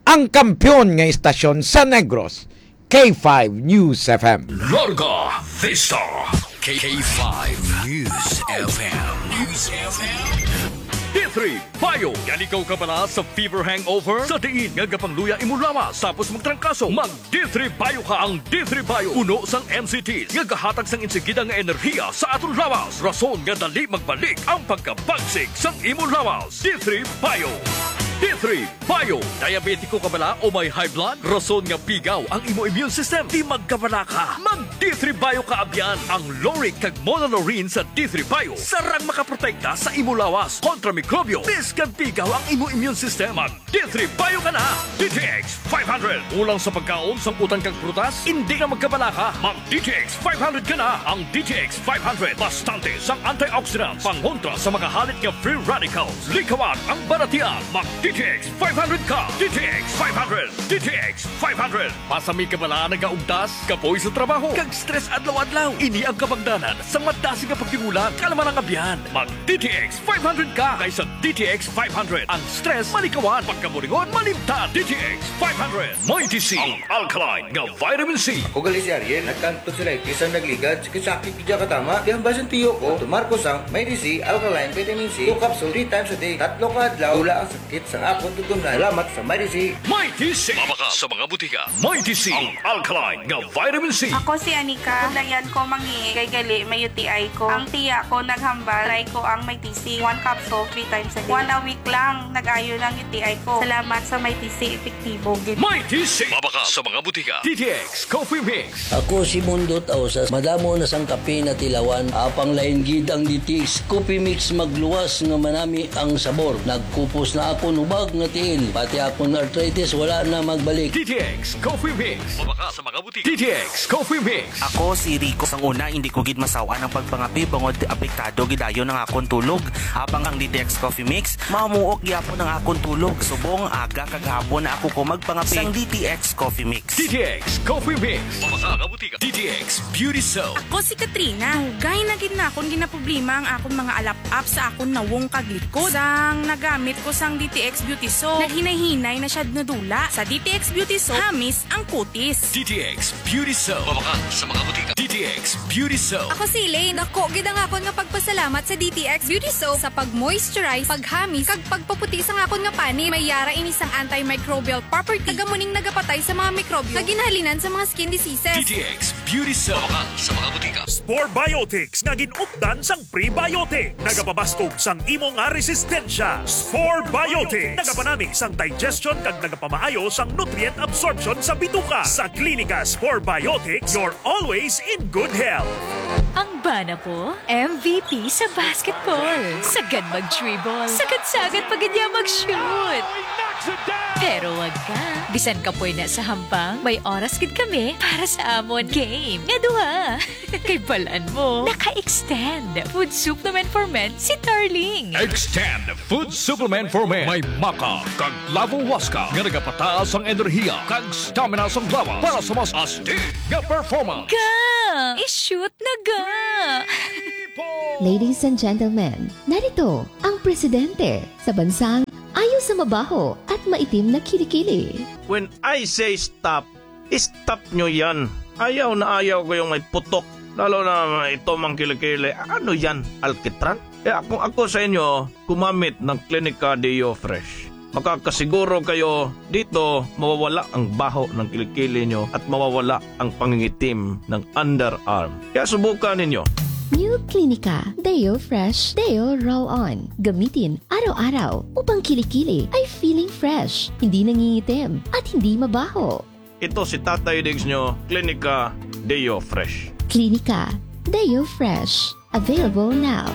ang kampiyon nga istasyon sa Negros, K five News F M. Larga Vista. K five News F M. News F M. D three Bio. Gani ikaw kabala sa fever hangover? Sa diin nga gapangluya imo lawas tapos magtrangkaso, mag D three Bio ka. Ang D three Bio puno sang M C Ts nga gahatag sang insigida nga enerhiya sa aton lawas, rason nga dali magbalik ang pagkabagsik sang imo lawas. D three Bio. D three Bio. Diabetiko ka bala o may high blood? Rason nga pigaw ang imo immune system. Di magkabala ka. Mag D three Bio ka abyan. Ang lauric kag monolaurin sa D three Bio sarang makaprotekta sa imo lawas kontra mikrobyo. Bisan pigaw ang imo immune system, mag D three Bio ka na. D T X five hundred. Kulang sa pagkaon, sangkutan kag prutas? Indi na magkabala ka. Mag D T X five hundred ka na. Ang D T X five hundred bastante sang antioxidants pangontra sa mga halit nga free radicals. Likawan ang baratian. Mag D T X five hundred ka. D T X five hundred. D T X five hundred. Pasami ka bala nagaugtas, kapoy sa trabaho, kag stress adlaw-adlaw? Ini ang kabangdanan sang madasig nga pagtigulang. Kalma lang, abyan. Mag D T X five hundred ka, kay sa D T X five hundred ang stress malikawan, pagkaburingon malimtan. D T X five hundred. Mighty C, ang alkaline nga vitamin C. Ako gali si Ariel, nagkanto sila iti sang nagligad, sakit-sakit gid siya katama. Di ang basin tiyo ko, tumar ko sang Mighty C, alkaline vitamin C, two capsule, three times a day. Tatlo ka adlaw, wala ang sakit sang akon tutunlan. Salamat sa Mighty C. Mighty C. Mabakal sa mga butika. Mighty C, ang alkaline nga vitamin C. Ako si Anika. Suglayan ko mangihi kay gali may U T I ko. Ang tiya ko naghambal, try ko ang Mighty C. One capsule, three times a day. One a week lang, nag-ayo na ang U T I ko. Salamat sa Mighty C, epektibo gid. Mighty C. Mabakal sa mga butika. D T X Coffee Mix. Ako si Mundot Ausas. Madamo na sang kape natilawan. Apang lain gid ang D T X Coffee Mix magluwas nga manami ang sabor. Nagkupos na akon hubag nga tiil. Pati akon arthritis wala na magbalik. D T X Coffee Mix. Mabakal sa mga butika. D T X Coffee Mix. Ako si Rico. Sang una, hindi ko gid masaw-an ang pagpangape bangod apektado gid dayon ang akon tulog. Apang ang D T X Coffee Mix, mamuok gyapon ang akon tulog. Subong aga kag hapon na ako ko magpangape sang D T X Coffee Mix. D T X Coffee Mix. Mabakal sa mga butika. D T X Beauty Soap. Ako si Katrina. Dugay na gid nakon ginaproblema ang akon mga alap-ap sa akon nawong kag likod. Sang nagamit ko sang D T X Beauty Soap, naghinay-hinay na siya nadula. Sa D T X Beauty Soap, hamis ang kutis. D T X Beauty Soap. Mabakal sa mga butika. D T X Beauty Soap. Ako si Elaine. Dako gid ang akon nga pagpasalamat sa D T X Beauty Soap sa pag-moisturize, paghamis, kag pagpaputi sang akon nga panit. May yara ini sang antimicrobial property, kag amo ning nagapatay sa mga mikrobyo nga ginhalinan sa mga skin diseases. D T X Beauty Soap. Mabakal sa mga butika. Spore Biotics nga gin-updan sang prebiotic. Nagapabastog sang imo nga resistensya. Spore Biotics. Nagapanami sang digestion kag nagapamaayo sang nutrient absorption sa bituka. Sa Klinika Spore Biotics, you're always in good health. Ang bana ko, M V P sa basketball. Sagad mag-dribble. Sagad-sagad pa gid niya mag-shoot. Pero wag ka. Bisan kapoy na sa hampang, may oras gid kami para sa amon game nga duha. Kay balan mo, naka-extend Food Supplement for Men si Darling. Extend Food Supplement for Men. May Ka kag Lavo Huasca nga nagapataas ang enerhiya kag stamina sang lawas para sa mas astig nga performance. Ga! I-shoot na ga! Ladies and gentlemen, narito ang presidente sa bansang ayaw sa mabaho at maitim na kilikili. When I say stop, stop nyo yan. Ayaw na ayaw ko yung may putok. Lalo na ito, mga kilikili. Ano yan? Alkitran? Kaya kung ako sa inyo, gumamit ng Clinica Deo Fresh. Makakasiguro kayo dito mawawala ang baho ng kilikili nyo at mawawala ang pangingitim ng underarm. Kaya subukan ninyo. New Clinica Deo Fresh Deo Roll On. Gamitin araw-araw upang kilikili ay feeling fresh, hindi nangingitim, at hindi mabaho. Ito si Tatay Diggs nyo, Klinika Deo Fresh. Klinika Deo Fresh. Available now.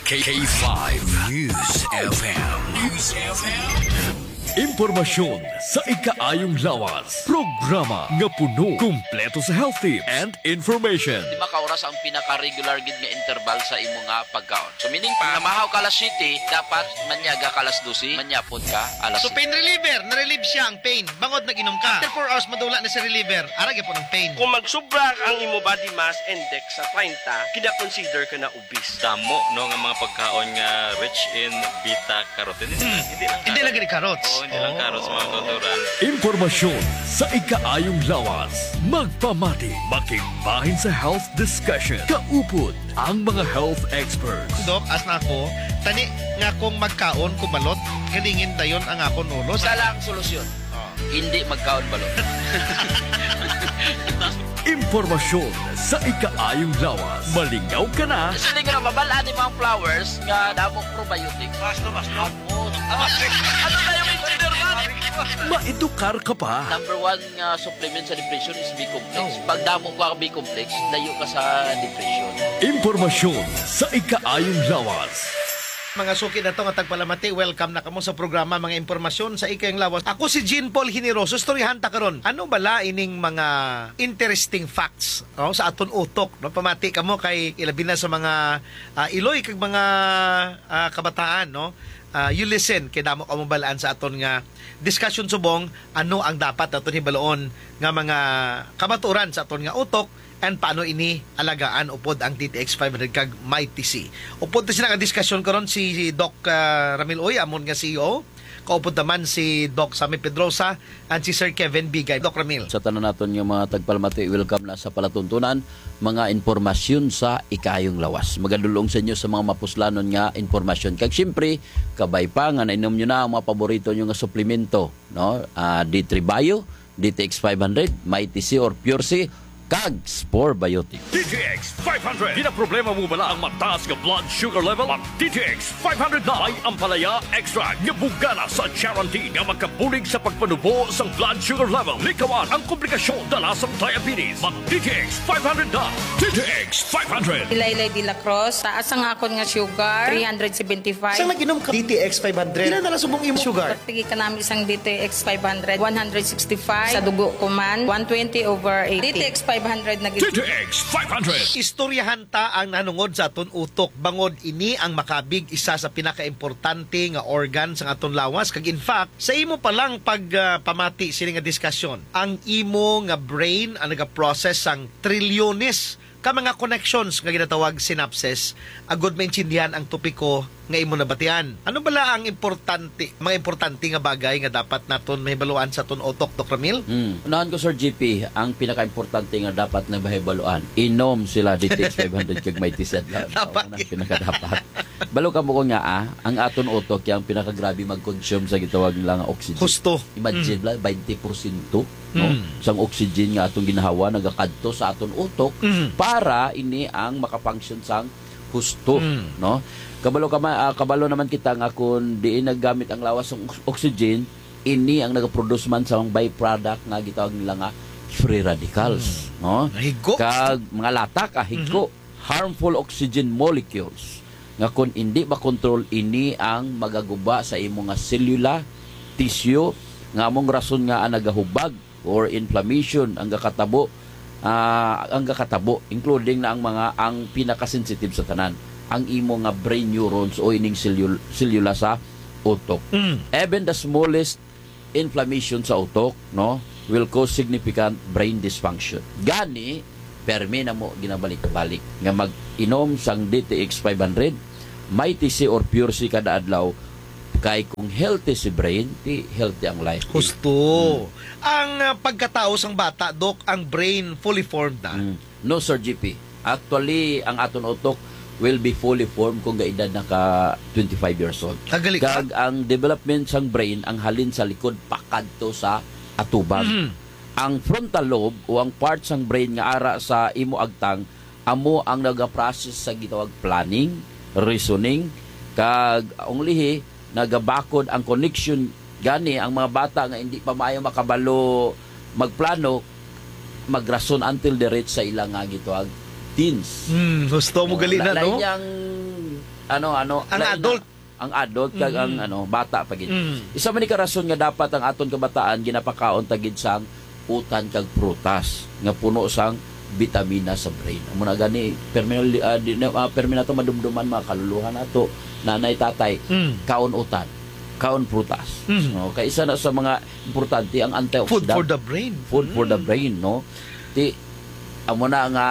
K five News F M. News F M. Impormasyon sa ikaayong lawas. Programa nga puno, kumpleto sa health tips and information. Di ba ka oras ang pinaka-regular gid nga interval sa imo nga pagkaon? So, meaning pa, namahaw ka alas siyete, dapat manyaga ka alas dose, manyapon ka alas So, pain reliever, na-relieve siya ang pain. Bangod nag-inom ka. After four hours, madula na si reliever. Ara gyapon ang pain. Kung magsubra ang imo body mass index sa treinta, kina-consider ka na obese. Damo, no, nga mga pagkaon nga rich in beta carotene. Hmm. Hindi lang Hindi lang carrots. gid carrots. Oo, hindi lang Oh. carrots, mga kautoran. Impormasyon sa ikaayong lawas. Magpamati, makigbahin sa health discussion. Kaupod ang mga health experts. Doc, as na ako, tani nga kung magkaon ko balot, galingin dayon ang akon ulo. Isa lang solusyon. Oh. Hindi magkaon balot. Impormasyon sa ikaayong lawas. Malingaw ka na. Kasi di ka na mabal-an ni mga flowers nga damo probiotics. Basto, basto. Amo. Ano na yung engineer man? Maedukar ka pa. Number one nga supplement sa depression is B-complex. Oh. Pag damo ka B-complex, layo ka sa depression. Impormasyon sa ikaayong lawas. Mga suki nato nga tagpalamati, welcome na kamo sa programa Mga Impormasyon sa Ikaayong Lawas. Ako si Jean Paul Generoso, istoryahan ta karon. Ano bala ining mga interesting facts, no, sa aton utok, no? Pamati kamo kay ilabi na sa mga, ah, iloy kag mga, ah, kabataan, no? Ah, you listen kay damo kamo bal-an sa aton nga discussion subong ano ang dapat naton hibaluon nga mga kamatuoran sa aton nga utok and paano ini alagaan upod ang D T X five hundred kag Mighty C. Upod ta sila nga diskusyon karon si Doc, ah, Ramil Uy, amon nga C E O. Kaupod naman si Doc Sammy Pedrosa and si Sir Kevin Bigay. Doc Ramil. Sa tanan naton nga mga tagpalamati, welcome na sa palatuntunan, mga impormasyon sa ikaayong lawas. Magadulong sa inyo sa mga mapuslanon nga impormasyon. Kag siyempre, kabay pa nga nainom nyo na ang mga paborito nyo nga suplemento, no? Ah, D three Bio, D T X five hundred, Mighty C or Pure C, kag Spore Biotic. D T X five hundred. Ginaproblema mo bala ang mataas nga blood sugar level? Mag D T X five hundred na. May ampalaya extract nga bugana sa Charantin nga makabulig sa pagpanubo sang blood sugar level. Likawan ang komplikasyon dala sang diabetes. Mag D T X five hundred na. D T X five hundred. Ilaylay de la Cruz, taas ang akon nga sugar, three hundred seventy-five. Sang nag-inom ka D T X five hundred? Pila na lang subong imo sugar? Pagtigi ka namin sang D T X five hundred, one hundred sixty-five. Sa dugo ko man, one twenty over eighty. D T X five hundred na gid. D T X five hundred. Istoryahan ta ang nanungod sa aton utok, bangod ini ang makabig isa sa pinakaimportante nga organ sa aton lawas. Kag in fact, sa imo pa lang pag, ah, pamati sini nga diskasyon, ang imo nga brain ang nagaprocess sang trilyones ka mga connections nga ginatawag synapses, agud maintindihan ang topiko nga imo nabatian. Ano bala ang importante, mga importante nga bagay nga dapat naton mahibaluan sa aton utok, Doc Ramil? Hmm. Unahan ko, Sir G P, ang pinakaimportante nga dapat na mahibaluan, inom sila D T X five hundred kag may tisad lang. Dapat. Ang pinakadapat. Balo ka mo ko nga, ah, ang aton utok yung pinakagrabe mag-consume sa gitawag nila nga oxygen. Husto. Imagine Mm. lang, twenty porsyento, no? Mm. Sang oxygen nga atong ginhawa nagakadto sa aton utok Mm. para ini ang makafunction sang husto, Mm. no? Kabalo ka ma-, ah, kabalo naman kita nga kung diin naggamit ang lawas sang ox-, oxygen, ini ang nagaproduce man sa mga byproduct nga gitawag nila nga free radicals, Mm. no? Higko. Kag mga latak, ah, higko. Mhm. Harmful oxygen molecules nga kon indi makontrol, ini ang magaguba sa imo nga selula, tissue, nga among rason nga ang nagahubag or inflammation ang gakatabo, ah, ang gakatabo, including na ang mga, ang pinakasensitive sa tanan, ang imo nga brain neurons o ining selul-, selula sa utok. Mm. Even the smallest inflammation sa utok, no, will cause significant brain dysfunction. Gani, permi na mo ginabalik-balik nga mag-inom sang D T X five hundred, Mighty C or Pure C kada adlaw, kay kung healthy si brain, di healthy ang life. Husto. Mm. Ang, ah, pagkatao sang bata, Doc, ang brain fully formed na? Mm. No, Sir G P. Actually, ang aton utok will be fully formed kung gaedad na ka twenty-five years old. Ah, gali ka? Kag ang development sang brain ang halin sa likod pakadto sa atubang. Mhm. Ang frontal lobe o ang part sang brain nga ara sa imo agtang amo ang nagaprocess sa gitawag planning, reasoning, kag ang ulihi nagabakod ang connection. Gani, ang mga bata nga hindi pa maayo makabalo magplano, magrason until the reach sa ila nga gitawag teens. Hmm, husto mo. Oh, gali na, la-, lain no? Niyang, ano, ano, ang lain na adult. Ang adult kag ang, mm, ano, bata pa gid. Mm. Isa man ni ka rason nga dapat ang aton kabataan ginapakaon ta gid sang utan kag prutas nga puno sang bitamina sa brain. Amo na gani, permi, ah, di na, ah, permi nato madumduman, mga kaluluhan nato, nanay, tatay, mm, kaon utan, kaon prutas. Mm. No, kay isa na sa mga importante ang antioxidant. Food for the brain. Food for the, mm, brain, no? Ti, amo na nga,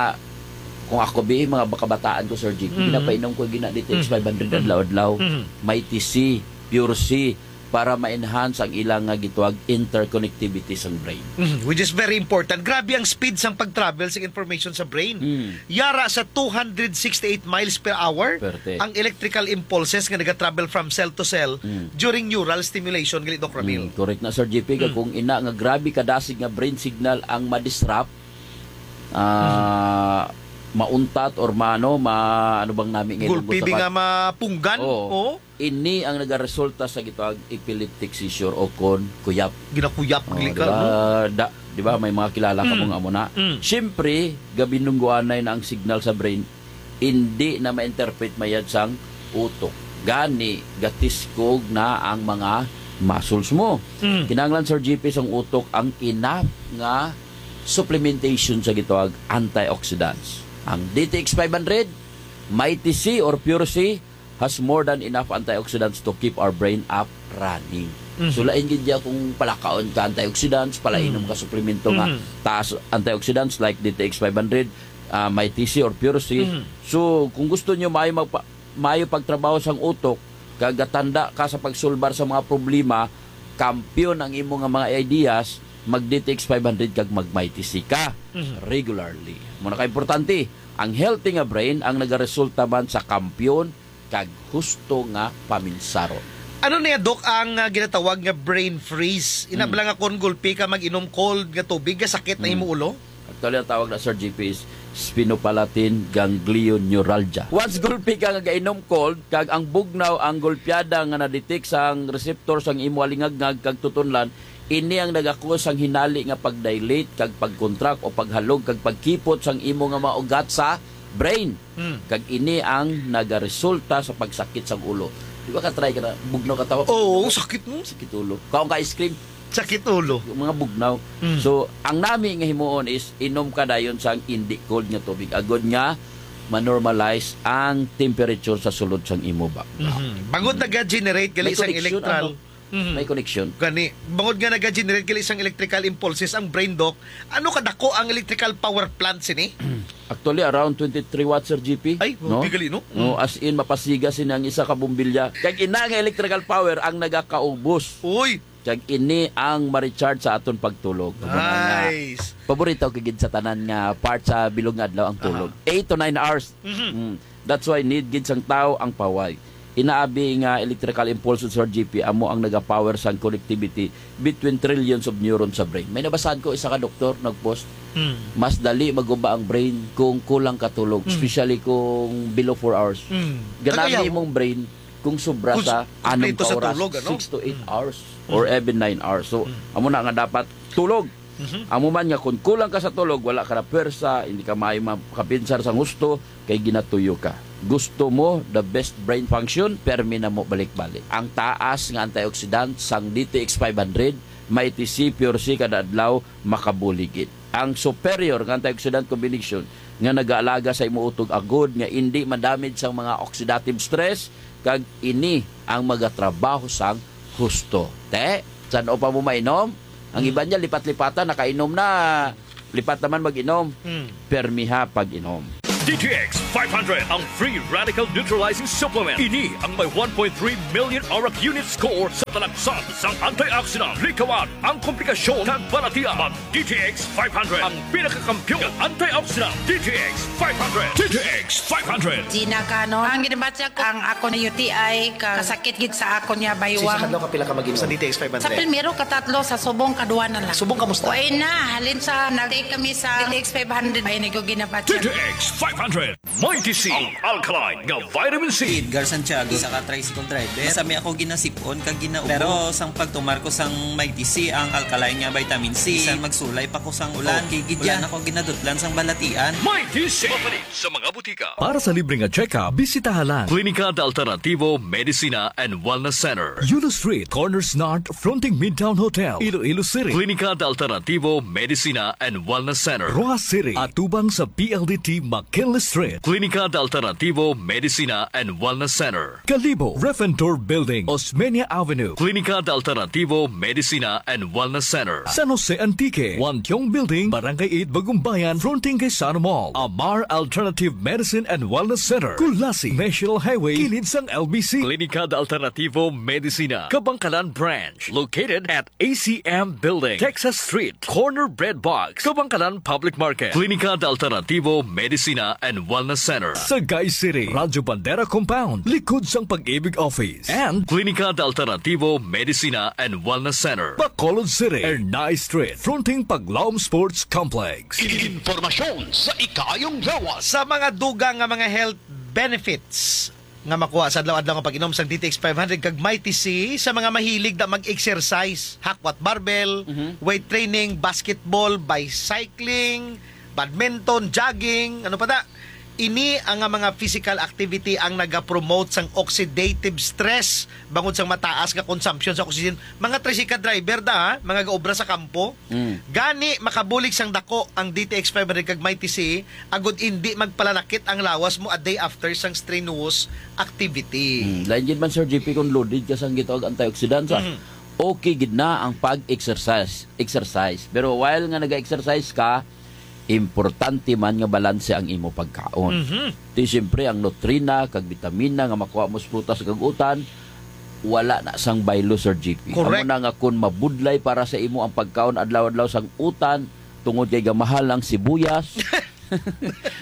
kung ako bi, mga kabataan ko, Sir Jim, mm, ginapainom ko gina D T X, mm, five hundred, mm, adlaw-adlaw. Mm. Mighty C, Pure C, para ma-enhance ang ilang nga gitawag interconnectivity sang brain. Mhm, which is very important. Grabe ang speed sang pag-travel sa information sa brain. Mm. Yara sa two hundred sixty-eight miles per hour, perte, ang electrical impulses nga nagatravel from cell to cell, mm, during neural stimulation, gali, Doc Ramil. Mm, correct na, Sir G P, kag, mm, kung ina nga grabe kadasig nga brain signal ang ma-disrupt, ah, mm, mauntat or maano, ma-, ano bang nami nga gulpi ilong bi sa nga mapunggan? Oo. Oo. Ini ang nagaresulta sa gitawag epileptic seizure o kon kuyap. Ginakuyap, oh, gali ka, di ba? No? Da-, di ba, may mga kilala ka, mm, mo nga mo na. Mm. Siyempre, gabinungguanay na ang signal sa brain, hindi na ma-interpret mayad sang utok. Gani, gatiskog na ang mga muscles mo. Mm. Kinahanglan, Sir G P, sang utok ang enough nga supplementation sa gitawag antioxidants. Ang D T X five hundred, Mighty C or Pure C, has more than enough antioxidants to keep our brain up running. Mhm. So, lain gid diya kung palakaon ka antioxidants, palainom, mhm, ka suplemento nga, mhm, taas antioxidants like D T X five hundred, ah, Mighty C or Pure C. Mhm. So, kung gusto nyo maayo magpa-, maayo pagtrabaho sang utok, kag gatanda ka sa pagsulbar sa mga problema, kampiyon ang imo nga mga ideas, mag D T X five hundred kag mag Mighty C ka, mhm, regularly. Amo na ka importante, ang healthy nga brain ang nagaresulta man sa kampiyon kag husto nga paminsaron. Ano niya, Doc, ang, ah, ginatawag nga brain freeze? Ina, mm, bala nga kon gulpi ka mag-inom cold nga tubig, nga sakit na, mm, imo ulo? Actually, ang tawag na, Sir G P, is sphenopalatine ganglion neuralgia. Once gulpi ka nga gainom cold, kag ang bugnaw ang gulpiada nga na-detect sang receptor sang imo alingagngag kag tutunlan, ini ang nagakuha sang hinali nga pag-dilate kag pag-contract o paghalog kag pagkipot sang imo nga mga ugat sa brain. Hmm. Kag ini ang nagaresulta sa pagsakit sang ulo. Di ba ka-try ka na, bugnaw ka tawag? Oo, sakit, no? Sakit ulo. Kaon ka ice cream? Sakit ulo. Yung mga bugnaw. Hmm. So, ang nami nga himuon is inom ka dayon sang indi cold nga tubig. Agod nga ma-normalize ang temperature sa sulod sang imo background. Mhm. Bangod, mhm, naga-generate gali sang electral. May connection, ano? Mhm. May connection. Gani, bangod nga naga-generate gali sang electrical impulses ang brain, Doc, ano kadako ang electrical power plant sini? Actually, around twenty-three watts, Sir G P. Ay, no? Di gali, no? No, mm, as in, mapasiga sini ang isa ka bombilya. Kag ina nga electrical power ang nagakaubos. Uy! Kag ini ang ma-recharge sa aton pagtulog. Amo na nga, nice, paborito ko gid sa tanan nga part sa bilog nga adlaw ang tulog. Aha. Eight to nine hours. Mhm. Mm. That's why need gid sang tawo ang pahuway. Inaabi nga electrical impulse, Sir G P, amo ang nagapower sang connectivity between trillions of neurons sa brain. May nabasahan ko, isa ka doktor nag-post, mm, mas dali maguba ang brain kung kulang ka tulog, mm, especially kung below four hours. Mm. Ganahan imong brain kung sobra sa anom ka oras, six to eight hours, or even nine hours. So, mm, amo na nga dapat tulog. Mhm. Amo man nga kung kulang ka sa tulog, wala ka na pwersa, hindi ka maayo makapinsar sang husto, kay ginatuyo ka. Gusto mo the best brain function? Permi na mo balik-balik. Ang taas nga antioxidant sang D T X five hundred, Mighty C, Pure C kada adlaw, makabulig gid. ang superior nga antioxidant combination nga nagaalaga sa imo utog agud nga indi madamage sang mga oxidative stress, kag ini ang magatrabaho sang husto. Te, san-o pa mo mainom? Ang Mm. iban niya, lipat-lipatan, nakainom na. Lipat naman mag-inom. Mm. Permiha pag-inom. D T X five hundred, ang free radical neutralizing supplement. Ini ang may one point three million arak unit score sa talagsan sang antioxidant. Likawan ang komplikasyon kag balatian. Mag D T X five hundred, ang pinakakampiyon nga antioxidant. D T X five hundred. D T X five hundred. Gina Canon. Ang ginabatya ko, ang ako na U T I, ka-, kasakit gid sa ako niya, Sisa baywang. Kadlaw ka pila ka mag-inom? Sa D T X five hundred. Sa primero, katatlo, sa subong, kadwa na lang. Subong, kamusta? Uy na, halin sa nag-take kami sa D T X five hundred, ay, nag-, ginabatya. D T X five hundred. Mighty C, ang alkaline nga vitamin C. Edgar Santiago, isa ka tricycle driver. Masami ako ginasipon kag ginaubo. Pero sang pagtumar ko sang Mighty C, ang alkaline nga vitamin C, bisan magsulay pa ko sang ulan, okay gid yan. Wala na ko ginadutlan sang balatian. Mighty C. Mapalit sa mga butika. Para sa libre nga check-up, bisitaha lang Klinika de Alternativo Medicina and Wellness Center, Yulo Street, Corners North, fronting Midtown Hotel, Iloilo City. Klinika de Alternativo Medicina and Wellness Center, Roxas City, atubang sa P L D T McKinley Street. Klinika de Alternativo Medicina and Wellness Center, Kalibo, Refentor Building, Osmeña Avenue. Klinika de Alternativo Medicina and Wellness Center, San Jose Antique, Wantiong Building, Barangay eight, Bagumbayan, fronting kay Sano Mall. Amar Alternative Medicine and Wellness Center, Culasi, National Highway, kilid sang L B C. Klinika de Alternativo Medicina, Kabangkalan Branch, located at A C M Building, Texas Street, corner Bread Box, Kabangkalan Public Market. Klinika de Alternativo Medicina and Wellness Center, Sagay City, Radyo Bandera Compound, likod sang Pag-ibig Office. And Klinika de Alternativo Medicina and Wellness Center, Bacolod City, Ernai Street, fronting Paglaom Sports Complex. Informasyon sa ikaayong lawas. Sa mga dugang nga mga health benefits nga makuha sa adlaw-adlaw nga pag-inom sang D T X five hundred kag Mighty C, sa mga mahilig na mag-exercise, hakwat barbell, Mhm. weight training, basketball, bicycling, badminton, jogging, ano pa da? Ini ang nga mga physical activity ang nagapromote sang oxidative stress bangod sang mataas nga consumption sa oxygen. Mga tricycle driver da, ha? Mga gaobra sa kampo. Mm. Gani, makabulig sang dako ang D T X five hundred kag Mighty C, agud indi magpalanakit ang lawas mo a day after sang strenuous activity. Mm. Lain gid man, Sir G P, kung loaded ka sang gitawag antioxidants, ah. Mm. Okay gid na ang pag-exercise. Exercise. Pero while nga nag-exercise ka, importante man nga balanse ang imo pagkaon. Mhm. Ti siyempre, ang nutrina kag bitamina nga makuha mo sa prutas kag utan, wala na sang baylo, Sir G P. Correct. Amo na nga, kun mabudlay para sa imo ang pagkaon adlaw-adlaw sang utan, tungod kay gamahal ang sibuyas,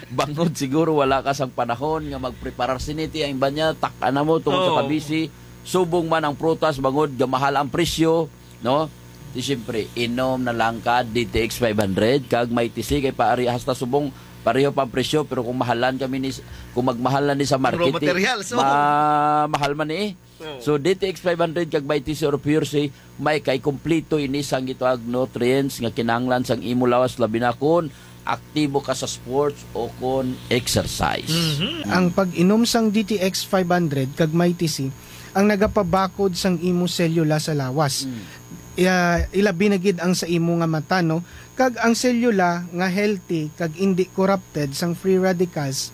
bangod siguro wala ka sang panahon nga magpreparar sini, ti ang iba niya, tak-a na mo tungod sa Oo. kabisi, subong man ang prutas, bangod gamahal ang presyo, no? Di siyempre, inom na lang ka D T X five hundred kag Mighty C, kay paari hasta subong pareho pa ang presyo, pero kung mahalan kami ni, kung magmahal na ni sa market, Raw materials, eh, oh. ma-, mahal man ni, eh. Oh. So, D T X five hundred kag Mighty C or Pure C, may kay kompleto ini sang gitawag nutrients nga kinahanglan sang imo lawas, labi na kun aktibo ka sa sports o kon exercise. Mhm. Ang pag-inom sang D T X five hundred kag Mighty C ang nagapabakod sang imo selula sa lawas. Mm. Ya, ilabi na gid ang sa imo nga mata, no? Kag ang selula nga healthy kag indi corrupted sang free radicals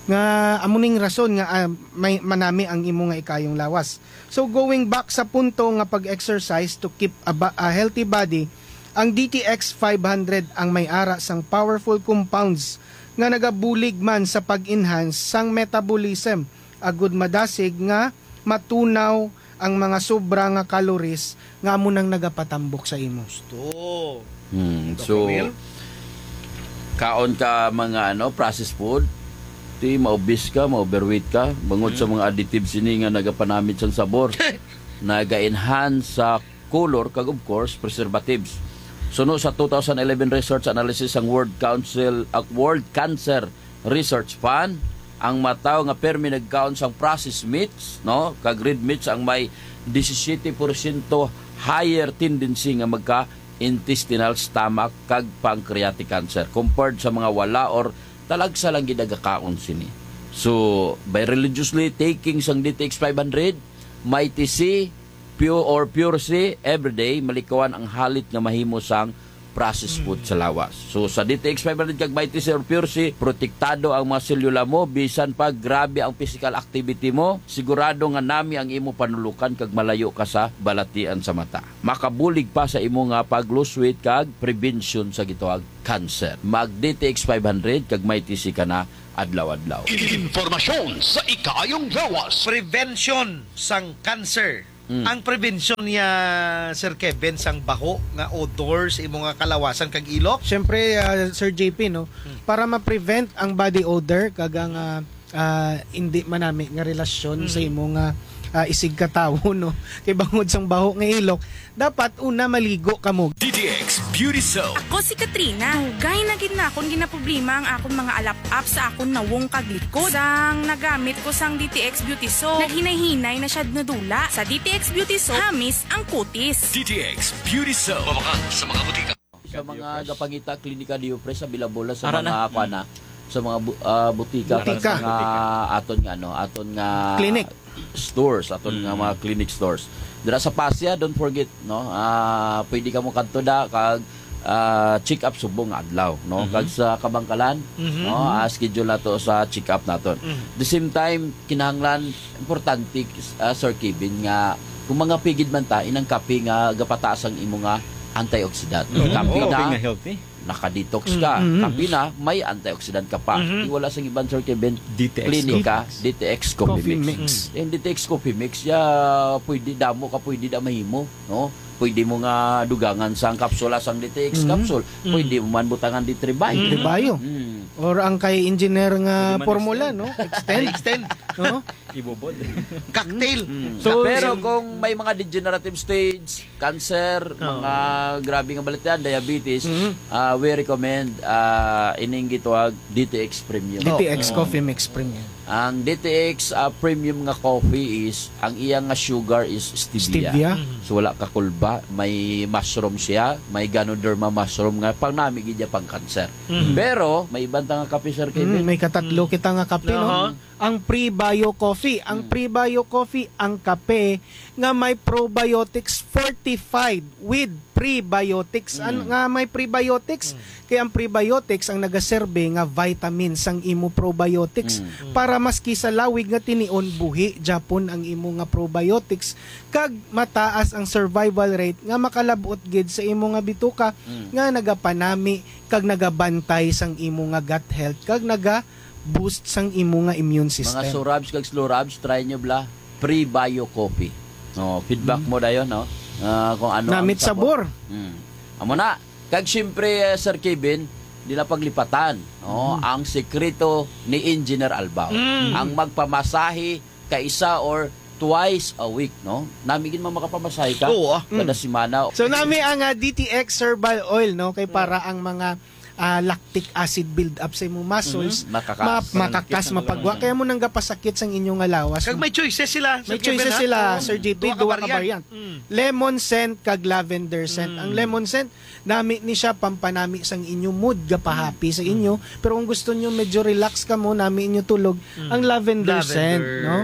nga amo ning rason nga, ah, may manami ang imo nga ikayong lawas. So, going back sa punto nga pag-exercise to keep a, ba- a healthy body, ang D T X five hundred ang may ara sang powerful compounds nga nagabulig man sa pag-enhance sang metabolism, agud madasig nga matunaw ang mga sobra nga calories nga amo nang nagapatambok sa imo. Gusto. Hmm, Doc so, Romel? Kaon ka mga, ano, processed food, ti maubis ka, ma-overweight ka, bangod sa Hmm. mga additives ini nga nagapanamit sang sabor, naga-enhance sa color, kag of course, preservatives. Suno sa two thousand eleven research analysis sang World Council, ah, World Cancer Research Fund, ang mga tawo nga permi nagkaon sang processed meats, no, kag red meats ang may disisiete porsyento higher tendency nga magka-intestinal, stomach, kag pancreatic cancer compared sa mga wala or talagsa lang gid nagakaon sini. So, by religiously taking sang D T X five hundred, Mighty C, Pure or Pure C, everyday, malikawan ang halit nga mahimo sang process food sa lawas. So, sa D T X five hundred kag Mighty C or Pure C, protektado ang mga selula mo, bisan pa grabe ang physical activity mo, sigurado nga nami ang imo panulukan kag malayo ka sa balatian sa mata. Makabulig pa sa imo nga pag-lose weight kag prevention sa gitawag cancer. Mag D T X five hundred kag Mighty C ka na adlaw-adlaw. Impormasyon sa ikaayong lawas. Prevention sang cancer. Mm. Ang prevention niya, Sir Kevin, sang baho nga odor sa imo nga kalawasan kag ilok? Siyempre, ah, Sir J P, no? Mm. Para ma-prevent ang body odor kag ang, ah, ah, hindi manami nga relasyon sa Mm. imo nga, ah, isigkatawo, no? Kay bangod sang baho nga ilok, dapat una maligo kamo. D T X Beauty Soap. Ako si Katrina. Dugay na gid na akon ginaproblema ang akon mga alap-ap sa akon nawong kag likod. Sang nagamit ko sang D T X Beauty Soap, naghinay-hinay na siya nadula. Sa D T X Beauty Soap, hamis ang kutis. D T X Beauty Soap. Mabakal sa mga butika. Sa mga gapangita, Klinika Diopres, available na sa Ara mga na. kuan na, sa mga bu-, ah, butika, Butika. sa mga aton nga, ano, aton nga Clinic. stores, aton nga Mm. mga clinic stores. Dira sa Pasya, don't forget, no? Ah, pwede ka mo kadto da kag, ah, check up subong nga adlaw, no? Mhm. Kag sa Kabangkalan, Mhm. no? Ah, schedule na to sa check up naton. Mhm. The same time, kinahanglan importante, ah, Sir Kevin, nga kung mga pigid man ta, inang kape nga gapataas ang imo nga antioxidant. Mhm. Kape Oo. na, Kape nga healthy. naka-detox ka. Mm, mm. Kape na, may antioxidant ka pa. Mhm. Di wala sang iban, Sir Kevin. D T X Klinika, Coffee Mix. D T X Coffee Coffee Mix. Mix. Yung D T X Coffee Mix, ya, pwede damo ka, pwede da mahimo, no? Pwede mo nga dugangan sang kapsula sang D T X Mhm. capsule. Mm. Pwede mo man butangan D three Bio. D three Bio. Mm. Or ang kay engineer nga Pwede man formula, extend. no? Extend. Extend. No? Ibubod. Cocktail. Mm. So, Pero so kung may mga degenerative stage, cancer, Oo. mga grabe nga balatian, diabetes, Mhm. ah, we recommend, ah, ining gitawag D T X Premium. D T X Oo. Coffee Mix Premium. Ang D T X, ah, Premium nga coffee is, ang iya nga sugar is stevia. Stevia. Mhm. So, wala ka kulba, may mushroom siya, may Ganoderma mushroom nga pangnami gid niya pang cancer. Mhm. Pero, may iban ta nga kape, Sir Kevin. Mm, may katatlo Mm. kita nga kape, no? Aha. Ang Prebio Coffee. Ang Mm. Prebio Coffee, ang kape nga may probiotics fortified with prebiotics. An-, Mm. nga may prebiotics. Mm. Kay ang prebiotics ang nagaserbe nga vitamin sang imo probiotics. Mm. Para maski sa lawig nga tinion, buhi gyapon ang imo nga probiotics. Kag mataas ang survival rate nga makalab-ot gid sa imo nga bituka Mm. nga nagapanami kag nagabantay sang imo nga gut health kag naga-boost sang imo nga immune system. Mga Surabs kag Slurabs, try nyo bala, Prebio Coffee. No, feedback Mm. mo dayon, no? Ah, kung ano ang Namit sabor. sabor. Mm. Amo na. Kag siyempre, eh, Sir Kevin, di na paglipatan, no? Mm. Ang sekreto ni Engineer Albao. Mm. Ang magpamasahe kaisa or twice a week, no? Nami gid man makapamasahe ka Oo, ah. kada Mm. semana. So, nami ang, ah, D T X Herbal Oil, no? Kay para Mm. ang mga, ah, lactic acid build up sa imong muscles, Mhm. Makaka-, ma-, Parang makakas, kit ang mapagwa. Kaya mo nang gapasakit sang inyo nga lawas. Kag may choices sila, May Sir Kevin, choices ha? sila, Oo. Sir J P, Duha ka duha ka variant. variant. Mm. Lemon scent kag lavender scent. Ang Mm. lemon scent, nami ni siya pampanami sang inyo mood, gapahappy sa inyo. Mm. Pero kung gusto nyo medyo relax ka mo, nami inyo tulog, Mm. ang lavender Lavender. scent, no?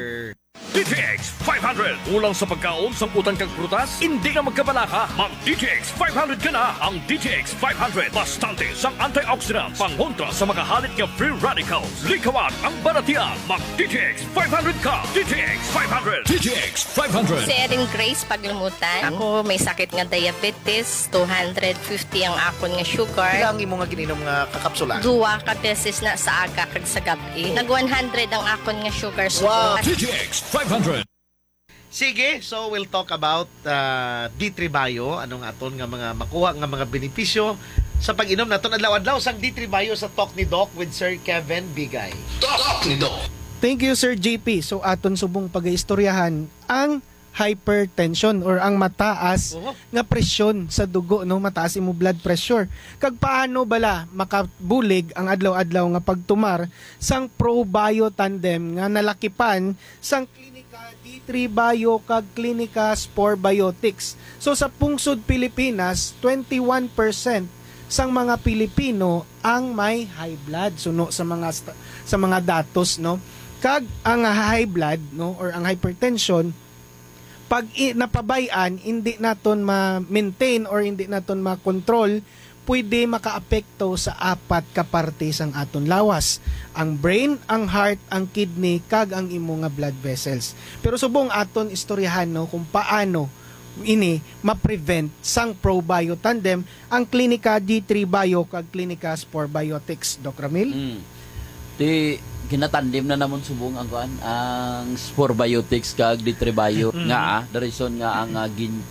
D T X five hundred. Kulang sa pagkaon, sang utan kag prutas? Hindi na magkabalaka. Mag D T X five hundred ka na. Ang D T X five hundred, bastante sang antioxidants, pangontra sa mga halit nga free radicals. Likawan ang balatian. Mag D T X five hundred ka. D T X five hundred. D T X five hundred. Si Erin Grace Paglumutan. Ako may sakit nga diabetes, two hundred fifty ang akon nga sugar. Pila ang imo nga gininom nga kakapsula? Duwa ka beses na sa aga kag sa gab-i. Nag one hundred ang akon nga sugar. Wow. D T X five hundred. Sige, so we'll talk about, ah, D three Bio, anong aton nga mga makuha nga mga benepisyo sa pag-inom naton adlaw-adlaw sang D three Bio sa Talk ni Doc with Sir Kevin Bigay. Talk ni Doc. Thank you, Sir J P. So, aton subong pagaistoryahan ang hypertension or ang mataas Oho. nga presyon sa dugo, no? Mataas imo blood pressure. Kag paano bala makabulig ang adlaw-adlaw nga pagtumar sang Pro Bio Tandem nga nalakipan sang Klinika D three Bio kag Klinika Spore Biotics? So, sa pungsod Pilipinas, twenty-one percent sang mga Pilipino ang may high blood, suno sa mga sta-, sa mga datos, no? Kag ang high blood, no, or ang hypertension, pag i-, napabay-an, hindi naton ma-maintain or hindi naton ma-control, pwede makaapekto sa apat ka parte sang aton lawas: ang brain, ang heart, ang kidney, kag ang imo nga blood vessels. Pero subong aton istoryahan, no, kung paano ini ma-prevent sang Probio Tandem, ang Klinika D three Bio kag Klinika Spore Biotics, Doc Ramil? Mm. Ti ginatandem na namon subong ang kuan, ang Spore Biotics kag D three Bio. Mm. Nga, ah, the reason nga ang, ah, gin